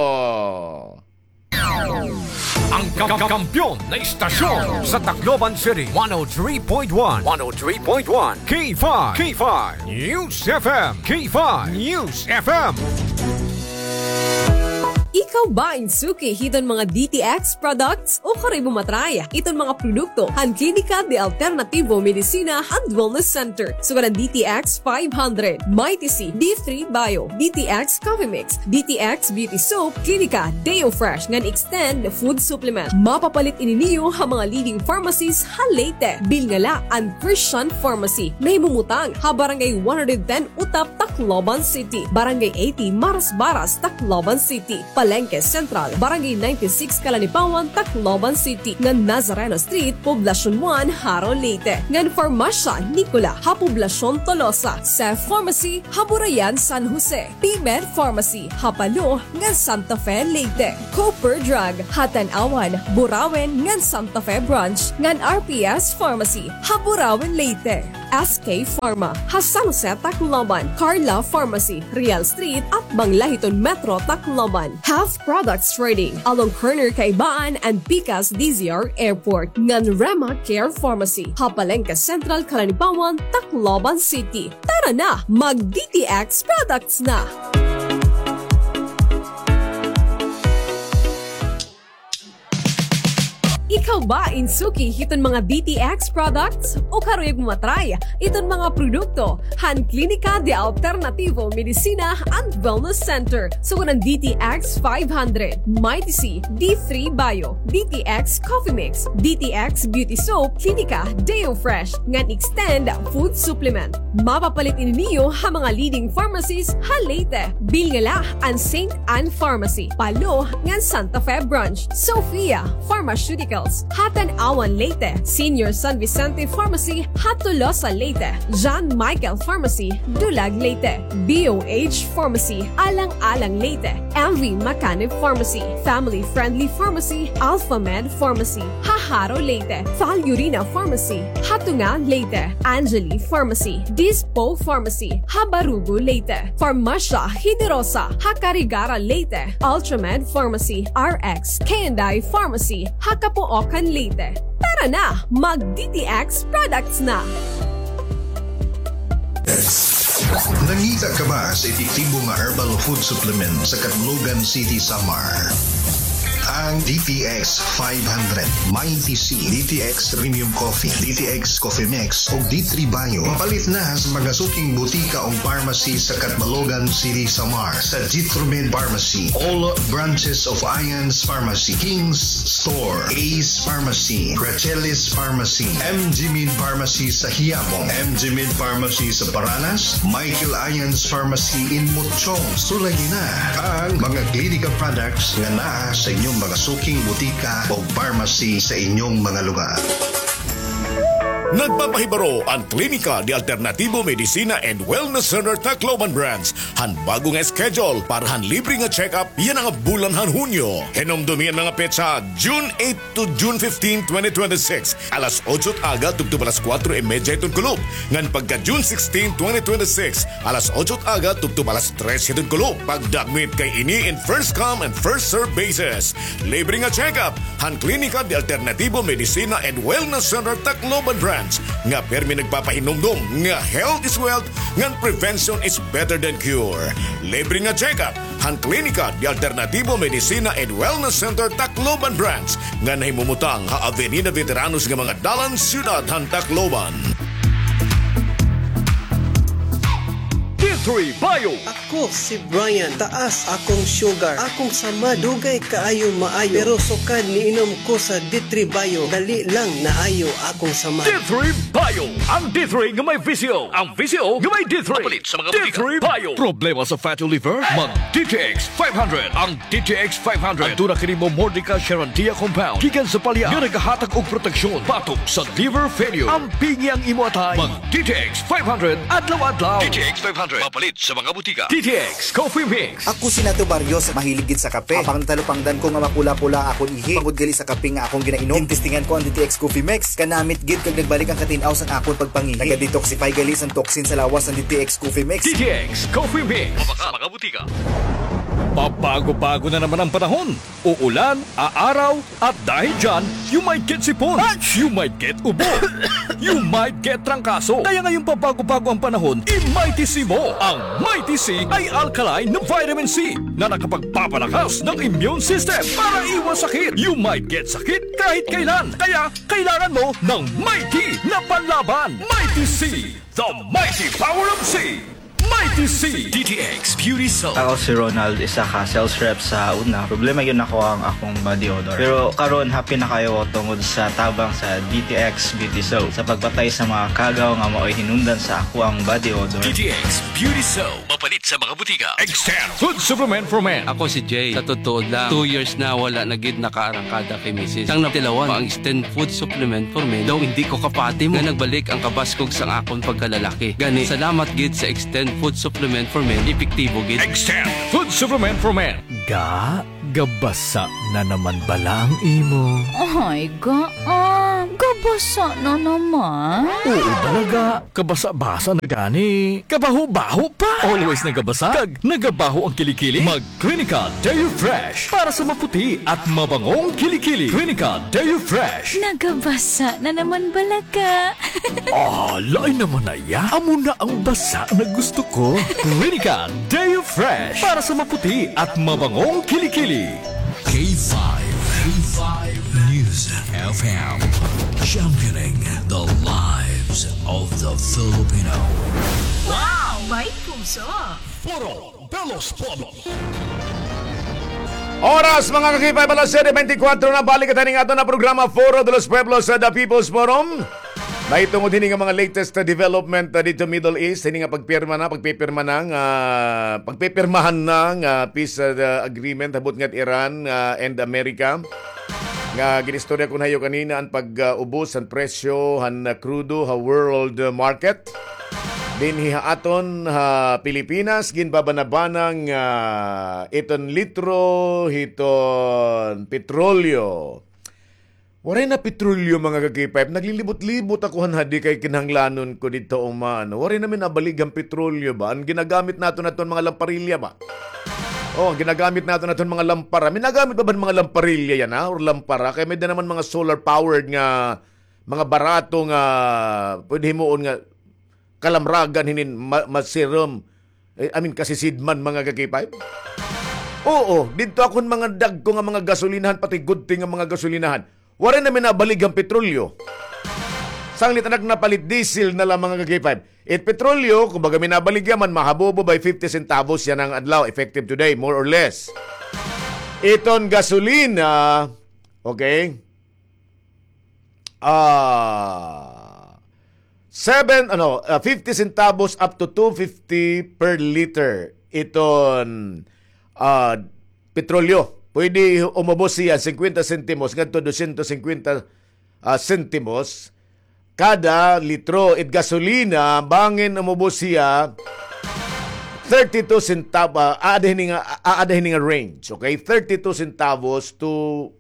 Ang ka-, ka-, kampiyon na istasyon sa Tacloban City, one oh three point one, one oh three point one, K five, K five News F M, K five News F M. Ikaw ba in suki hiton mga D T X products? O kari mo ma-try iton mga produkto han Klinika de Alternativo Medicina and Wellness Center, sugad han D T X five hundred, Mighty C, D three Bio, D T X Coffee Mix, D T X Beauty Soap, Klinika Deo Fresh ngan Extend Food Supplement. Mapapalit ini niyo ha mga leading pharmacies ha Leyte. Bilngala an Christian Pharmacy, nahimumutang ha Barangay one hundred ten Utap, Tacloban City, Barangay eighty, Marasbaras, Tacloban City. Palengke Central, Barangay ninety-six, Calanipawan, Tacloban City, ngan Nazareno Street, Poblacion one, Jaro, Leyte, ngan Farmasya Nicola ha Poblacion Tolosa, Seth Pharmacy ha Burayan, San Jose, P-Med Pharmacy ha Palo ngan Santa Fe, Leyte, Cooper Drug ha Tanauan, Burauen ngan Santa Fe Branch, ngan R P S Pharmacy ha Burauen, Leyte, S K Pharma ha San Jose, Tacloban, Carla Pharmacy, Real Street, atbang la hiton Metro Tacloban, Health Products Trading along corner Kaibaan and pikas D Z R Airport, ngan Rema Care Pharmacy ha Palengke Central, Calanipawan, Tacloban City. Tara na, mag D T X products na! Ikaw ba in suki hiton mga D T X products? O karuyag mo ma-try iton mga produkto han Klinika de Alternativo Medicina and Wellness Center? Sugad han D T X five hundred, Mighty C, D three Bio, D T X Coffee Mix, D T X Beauty Soap, Klinika Deo Fresh, ngan Extend Food Supplement. Mapapalit ini niyo ha mga leading pharmacies ha Leyte. Bilngala an Saint Anne Pharmacy, Palo, ngan Santa Fe Branch, Sophia Pharmaceuticals ha Tanauan, Leyte, Senior San Vicente Pharmacy ha Tolosa, Leyte, John Michael Pharmacy, Dulag, Leyte, B O H Pharmacy, Alang-alang, Leyte, M V Macanib Pharmacy, Family Friendly Pharmacy, Alpha Med Pharmacy ha Jaro, Leyte, Valurina Pharmacy ha Tunga, Leyte, Angeli Pharmacy, Dispo Pharmacy ha Barugo, Leyte, Farmasya Generosa ha Carigara, Leyte, Ultramed Pharmacy, R X K and I Pharmacy ha Capoocan, Leyte. Tara na, mag D T X products na! Nangita ka ba sa epektibo nga herbal food supplement sa Catbalogan City, Samar? Ang D T X five hundred, Mighty C, D T X Premium Coffee, D T X Coffee Mix, ug D three Bio. Mapalit na sa mga suking butika ug pharmacy sa Catbalogan City, Samar, sa Jitromed Pharmacy, all branches of Ions Pharmacy, King's Store, Ace Pharmacy, Gracelis Pharmacy, M G Med Pharmacy sa Quiapo, M G Med Pharmacy sa Paranas, Michael Ions Pharmacy in Mochong. Sulayi na ang mga Klinika products nga naa sa inyong mga suking butika o pharmacy sa inyong mga lugar. Nagpapahibaro an Klinika de Alternativo Medicina and Wellness Center Tacloban Branch han bag-o nga schedule para han libre nga check-up yana nga bulan han Hunyo. Hinumdomi an mga petsa, June eight to June fifteen, twenty twenty-six, alas otso it aga tubtob alas kuwatro y medya hiton kulop, ngan pagka June sixteen, twenty twenty-six, alas otso it aga tubtob alas tres hiton kulop. Pagdagmit kay ini in first come and first serve basis. Libre nga check-up han Klinika de Alternativo Medicina and Wellness Center Tacloban Branch nga pirmi nagpapahinumdom nga health is wealth ngan prevention is better than cure. Libre nga check-up han Klinika de Alternativo Medicina and Wellness Center Tacloban Branch nga nahimumutang ha Avenida Veteranos nga mga dalan, siyudad han Tacloban. D three Bio. Ako si Brian, taas akong sugar. Akong samad, dugay kaayo maayo. Pero sukad niinom ko sa D three Bio, dali lang naayo akong samad. D three Bio, ang D three nga may V C O. Ang V C O nga may D three. Mapalit sa mga butika. D three Bio. Problema sa fatty liver? Mag D T X five hundred. Ang D T X five hundred. Aduna kini Momordica charantia compound gikan sa palya nga nagahatag og proteksyon batok sa liver failure. Ampingi ang imo atay. Mag D T X five hundred adlaw-adlaw. D T X five hundred. Mapalit sa mga butika. D T X Coffee Mix. Ako si Nato Barrios, mahilig gid sa kape. Apang natalupangdan ko nga mapula-pula akon ihi tungod gali sa kape nga akon ginainom. Gintestingan ko an D T X Coffee Mix. Kanamit gid kag nagbalik an katin-aw san akon pagpangihi. Naga-detoxify gali san toxin sa lawas an D T X Coffee Mix. D T X Coffee Mix. Mabaka, mga butika. Pabago-bago na naman ang panahon. Uulan, aaraw, at dahil dyan, you might get sipon. You might get ubo. You might get trangkaso. Kaya ngayong pabago-bago ang panahon, i-Mighty C mo. Ang Mighty C ay alkaline na vitamin C na nakapagpapalakas ng immune system para iwas sakit. You might get sakit kahit kailan. Kaya kailangan mo ng Mighty na panlaban. Mighty C, the mighty power of C. Mighty C D T X Beauty Soap. Ako si Ronald, isa ka sales rep sa una. Problema gyud nako ang akong body odor. Pero karon, happy na kaayo ko tungod sa tabang sa D T X Beauty Soap sa pagpatay sa mga kagaw nga maoy hinungdan sa akoang body odor. D T X Beauty Soap. Mapalit sa mga butika. Extend Food Supplement for Men. Ako si Jay. Sa totoo lang, two years na wala na gid nakaarangkada kay misis. Sang natilawan pa ang Extend Food Supplement for Men, daw indi ko kapati mo nga nagbalik ang kabaskog sang akon pagkalalaki. Gani, salamat gid sa Extend Food Supplement for Men, epektibo gid. Extend Food Supplement for Men. Ga, gabasa na naman bala ang imo? Ay, ga, ah, gabasa na naman. Oo, bala ga. Kabasa-basa na gani. Kabaho-baho pa. Always nagabasa. Kag nagabaho ang kilikili. Mag Clinica Deo Fresh para sa maputi at mabangong kilikili. Clinica Deo Fresh. Nagabasa na naman bala ga. Ah, lain naman na iya. Amo na ang basa na gusto ko. Clinica Deo Fresh para sa maputi at mabangong kilikili. K five, K five News F M, championing the lives of the Filipino. Wow! May puso! Foro de los Pueblos. Oras, mga ka-K five, alas siyete beintikwatro na, balik kita ning aton na programa, Foro de los Pueblos, sa The People's Forum. Mahitungod hini nga mga latest, uh, development, uh, didto Middle East, hini nga pagpirma na, pagpipirma na nga, pagpipirmahan na nga peace, uh, agreement, habot ngat Iran, uh, and America. Nga ginistorya ko na ha iyo kanina an pag, uh, ubos han presyo han, uh, krudo ha world, uh, market. Dinhi ha aton ha Pilipinas, ginbabanabana nga iton litro hiton petrolyo. Waray na petrolyo, mga ka-K five. Naglilibot-libot ako han hadi kay kinahanglanon ko didto human. Waray na mi nabalig han petrolyo ba? An ginagamit naton aton mga lamparilya ba? Oh, an ginagamit naton aton mga lampara. May nagamit ba ba mga lamparilya yana, or lampara? Kay may da naman mga solar powered nga mga barato nga pwede himuon nga kalamragan hinin ma-, masirom. Eh, I mean, kasisidman, mga ka-K five. Oo, didto akon mga dagko nga mga gasolinahan, pati gudti nga mga gasolinahan. Waray na mi nabalig han petrolyo. Sanglit an ak napalit, diesel na la, mga ka-K five. It petrolyo, kumbaga, minabalig yaman, mahabobo by fifty centavos yana nga adlaw, effective today, more or less. Iton gasolina, okay? Ah, seven, ano, ah, fifty centavos up to two fifty per liter iton, ah, petrolyo. Pwede umubos siya cincuenta sentimos ngadto dosyentos cincuenta, ah, sentimos kada litro. It gasolina, bangin umubos siya thirty-two centavo, ah, aada hini nga, ah, aada hini nga range, okay? Thirty-two centavos to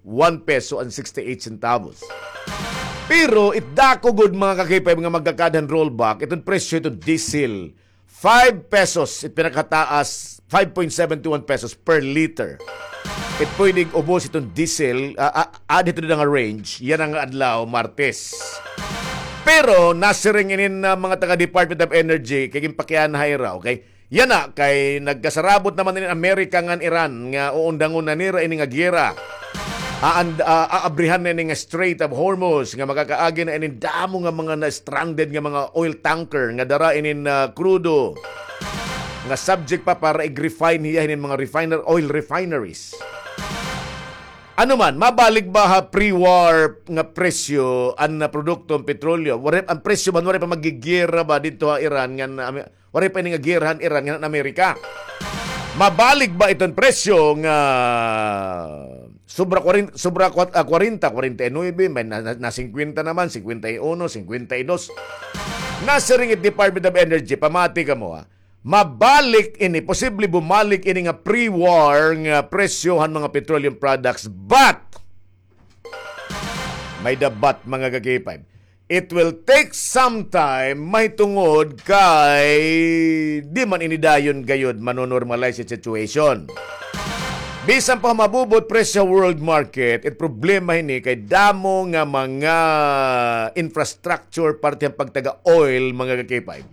one peso and sixty-eight centavos. Pero it dako gud, mga ka-K five, nga magkakada han rollback, iton presyo iton diesel, five pesos, it pinakataas, five point seven two one pesos per liter. It pwede ubos iton diesel, ah, ah, aada hito nga range, yana nga adlaw, Martes. Pero nasiring inin, ah, mga taga Department of Energy, kay ginpakiana ha ira, okay? Yana, kay nagkasarabot naman inin Amerika ngan Iran nga uundangon na nira ini nga giyera. Aan-, ah, aabrihan na ini nga Strait of Hormuz nga makakaagi na inin damo nga mga na-stranded nga mga oil tanker nga dara inin, ah, krudo nga subject pa para ig-refine hiya hinin mga refiner-, oil refineries. Ano man, mabalik ba ha pre-war nga presyo an, ah, produkto, an petrolyo? Waray, an presyo man, waray pa magigiyera ba didto ha Iran ngan, ah, waray pa ini nga giyera han Iran ngan Amerika? Mabalik ba iton presyo nga sobra kwarenta, sobra kwat-, ah, kwarenta, kwarenta y nuebe, may na, na, na singkwenta naman, singkwenta y uno, singkwenta y dos? Nasiring it Department of Energy, pamati kamo, ha. Mabalik ini, posible bumalik ini nga pre-war nga presyo han mga petroleum products, but may-da but, mga ka-K five. It will take some time, mahitungod kay di man ini dayon gayod mano-normalize it situation. Bisan pa humabubot presyo world market, it problema hini kay damo nga mga infrastructure parte han pagtaga oil, mga ka-K five,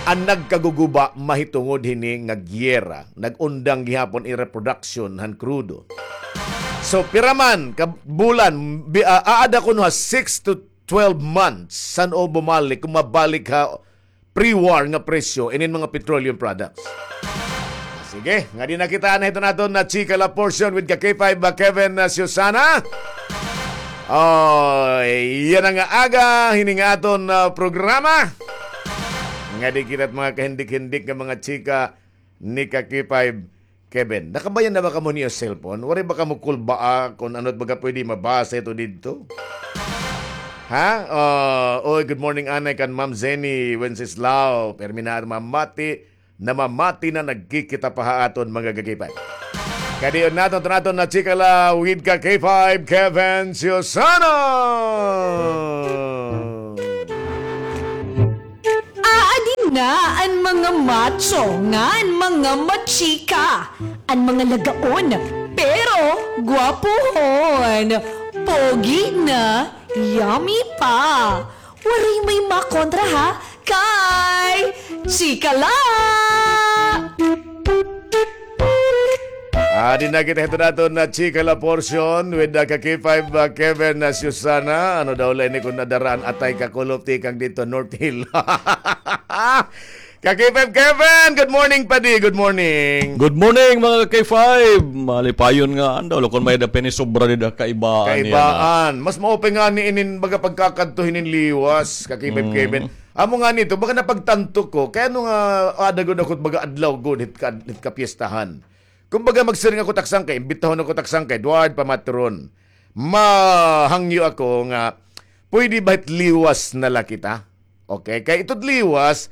an nagkaguguba mahitungod hini nga giyera. Nag-undang gihapon ira production han krudo. So, pira man ka bulan, bi-, ah, aada kuno ha six to twelve months san-o bumalik, kon mabalik ha pre-war nga presyo inin mga petroleum products. Sige, ngadi na kita na hiton aton nga Chika La Portion with ka K five, ah, Kevin, ah, Susana. Oh, yana nga aga, hini nga aton, ah, programa. Ngadi kita mga kahindik-hindik nga mga chika ni ka K five Kevin. Nakabayan na ba kamo niyo cellphone? Waray ba kamo kulbaa kon ano it baga pwede mabasa ito didto? Ha? Ah, oy, good morning, anay, kan Ma'am Zenny Wenceslao. Permi na mamati, namamati na nagkikita pa ha aton mga ka K five. Kadi yon naton, naton nga Chika La with ka K five, Kevin Susana. Aadi na an mga macho ngan mga machika, an mga lagaon, pero gwapohon, pogi na, yummy pa. Waray may makontra ha, kay Chika La! Adi na kita hito naton nga Chika La Portion with the ka K five, uh, Kevin, uh, Susana. Ano daw la ini kon nadaraan atay kakulop tikang didto North Hill. Ka K five Kevin, good morning, padi. Good morning. Good morning, mga ka K five. Malipayon nga, andaw la kon may-ada pa ini sobra dida kaibaan niya na. Kaibaan. Mas maupay ngani inin baga pagkakadto hinin liwas, ka K five Kevin. Amo ngani ito, baga napagtanto ko, kay ano nga, ada gud ako it baga adlaw gud hit ka, hit kapiestahan. Kumbaga, magsiring ako it ak sangkay, imbitahon ako it ak sangkay, duha it pamatron. Mahangyo ako nga, pwede ba it liwas na la kita? Okay, kay ito it liwas,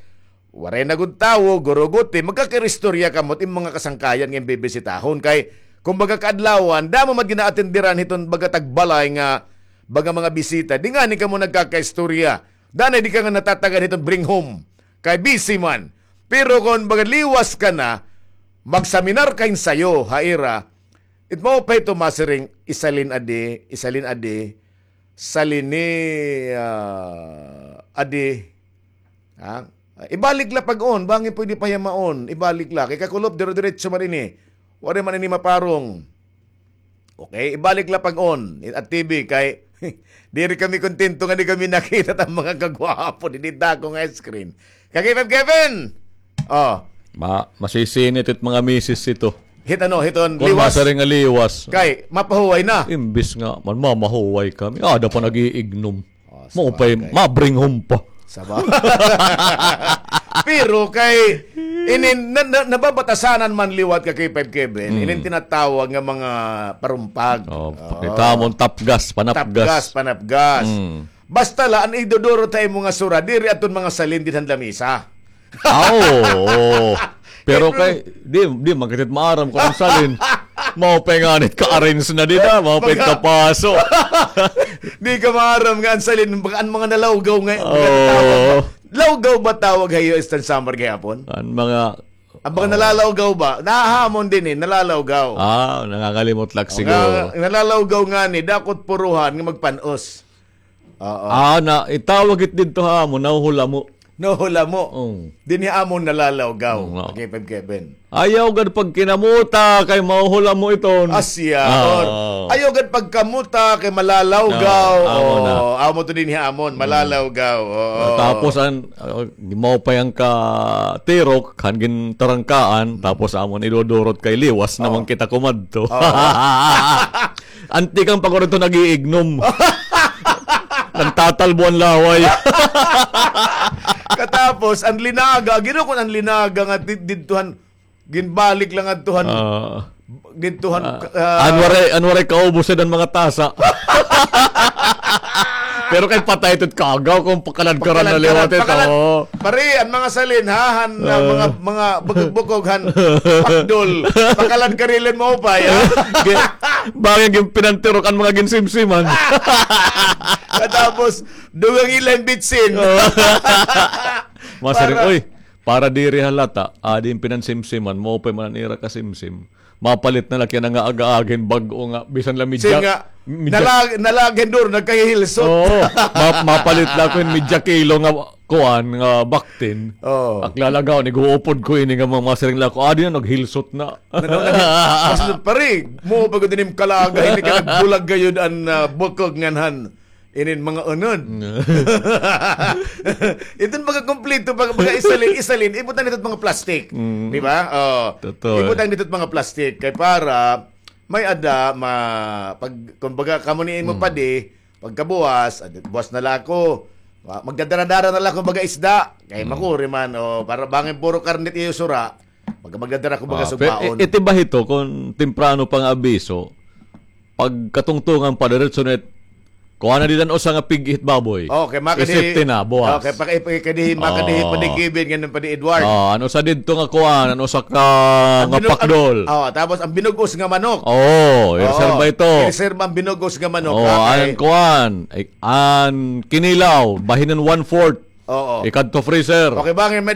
waray na gud tawo, guruguti, magkakairistorya kamo it imo mga kasangkayan nga bibisitahon. Kay, kumbaga, kaadlawan, damo man it gin-aatenderan hiton baga tagbalay nga, baga mga bisita. Di ngani kamo nagkakaistorya. Danay di ka nga natatagad hiton bring home. Kay busy man. Pero kon baga liwas ka na, magseminar ka hin sayo, ha ira, it mao pa ito masiring, isalin adi, isalin adi, salini, ah, adi, ha? Ibalik la pag-on, bangin pwede pa hiya maon, ibalik la. Kay kakulop, dire-diretso man ini. Waray man ini maparong. Okay, ibalik la pag-on it T V kay diri kami kontento nga di kami nakita it mga kagwapo dinhi dako nga screen. Ka K five Kevin! Oh. Ma, masisinit it mga misis ito. Hit ano, hiton liwas. Kon masiring nga liwas. Kay, mapahuway na. Imbis nga, man, mamahuway kami. Ada pa nag-iignom. Oh, maupay, sabagay. Ma-bring home pa. Saba. Pero kay, inin, na, na, nababatasanan man liwat ka K five Kevin, inin tinatawag nga mga parumpag. Oh, pakita mo, tapgas, panapgas. Tapgas, panapgas. Basta la, an idudurot ha imo nga sura, diri adton mga salin dinhan lamisa. Ah, oo, oo. Pero kay, di, di man kita maaram kon an salin. Maupay ngani it ka-arrange na dida, maupay it kapaso. Di ka maaram nga an salin, baka an mga nalawgaw nga, mga tawag ba? Lawgaw ba tawag ha iyo, Eastern Samar gihapon? An mga, an mga nalalawgaw ba? Nahamon dinhi, nalalawgaw. Ah, nangangalimot la siguro. Nga, nalalawgaw ngani, dako it puruhan nga magpan-os. Oo. Ah, na, itawag it didto ha amon, nahuhulamo. Nahuhulamo. Oo. Dinhi amon nalalawgaw. Oo, nga. K five Kevin. Ayaw gad pagkinamuta kay mahuhulamo iton. Asya. Ah, or, oo. Ayaw gad pagkamuta kay malalawgaw. Oo, amo na. Oo, amo to dinhi amon, malalawgaw. Oo. Tapos an, ah, maupay an katirok, han gintarangkaan, tapos amon idudurot kay liwas naman kita kumadto. Oo. Anti kang pagurito nag-iignom. Nagtatalbo an laway. Katapos, an linaga, gino kon an linaga nga di-, didtuhan, ginbalik lang adtuhan, ah, didtuhan, ah, ah, an waray, an waray kaubos an mga tasa. Pero kay patay ito it kagaw kon pakaladkaran na liwat ito. Pakaladkaran, pakaladkaran. Pare, an mga salin, ha, han, ah, mga, mga bukog-bukog, han, pakdol. Pakaladkaran la hin maupay, ha? Bangin ginpinantirok an mga ginsimsiman. Katapos, dugang ila hin bitsin. Oo. Masiring, para, oy, para diri halata, adi hin pinansimsiman, maupay man an ira kasimsim. Mapalit na la kay nga aga-aga hin bag-o nga, bisan la medya, medya. Sige nga, nalag-, nalagin duro, nagkahihilsot. Oo, ma-, mapalit la ako hin medya kilo nga kuan, nga baktin. Oo. Ak lalagaw, niguupod ko ini nga mga masiring la ako, adi na, naghilsot na. Nag-, nag-, mas, pare, mo pa gud inim kalaga, ini ka nagbulag gayud an, ah, bukog ngan han. Inin mga unod. Iton mga kompleto, baga, baga isalin, isalin, ibutang didto mga plastic. Mm. Di ba? Oh. Totoo. Ibutang didto mga plastic. Kay para, may ada, ma, pag, kumbaga, kamo ni imo padi, pagkabuwas, ah, buwas na la ako. Ah, magdadara-dara na la ako, baga isda. Kay makuri man, oh, para bangin puro karne it iyo sura. Pag magdadara ako, baga sugbaon. Iti ba hito, kung temprano pa nga abiso, pagkatungtungan pa, diretso na it, kuha na dida an usa nga pig-i hit baboy. Okay, makadi. Isipti na, buwas. Okay, pag, pag, kadi, makadi, padi Kevin, ngan padi Edward. Oh, an usa didto nga kuan, an usa ka, nga pakdol. Oh, tapos an binug-os nga manok. Oh, ireserba ito. Ireserba an binug-os nga manok. Oh, an kuan, an kinilaw, bahin hin one-fourth. Oo. Ikadto freezer. Okay, bangin may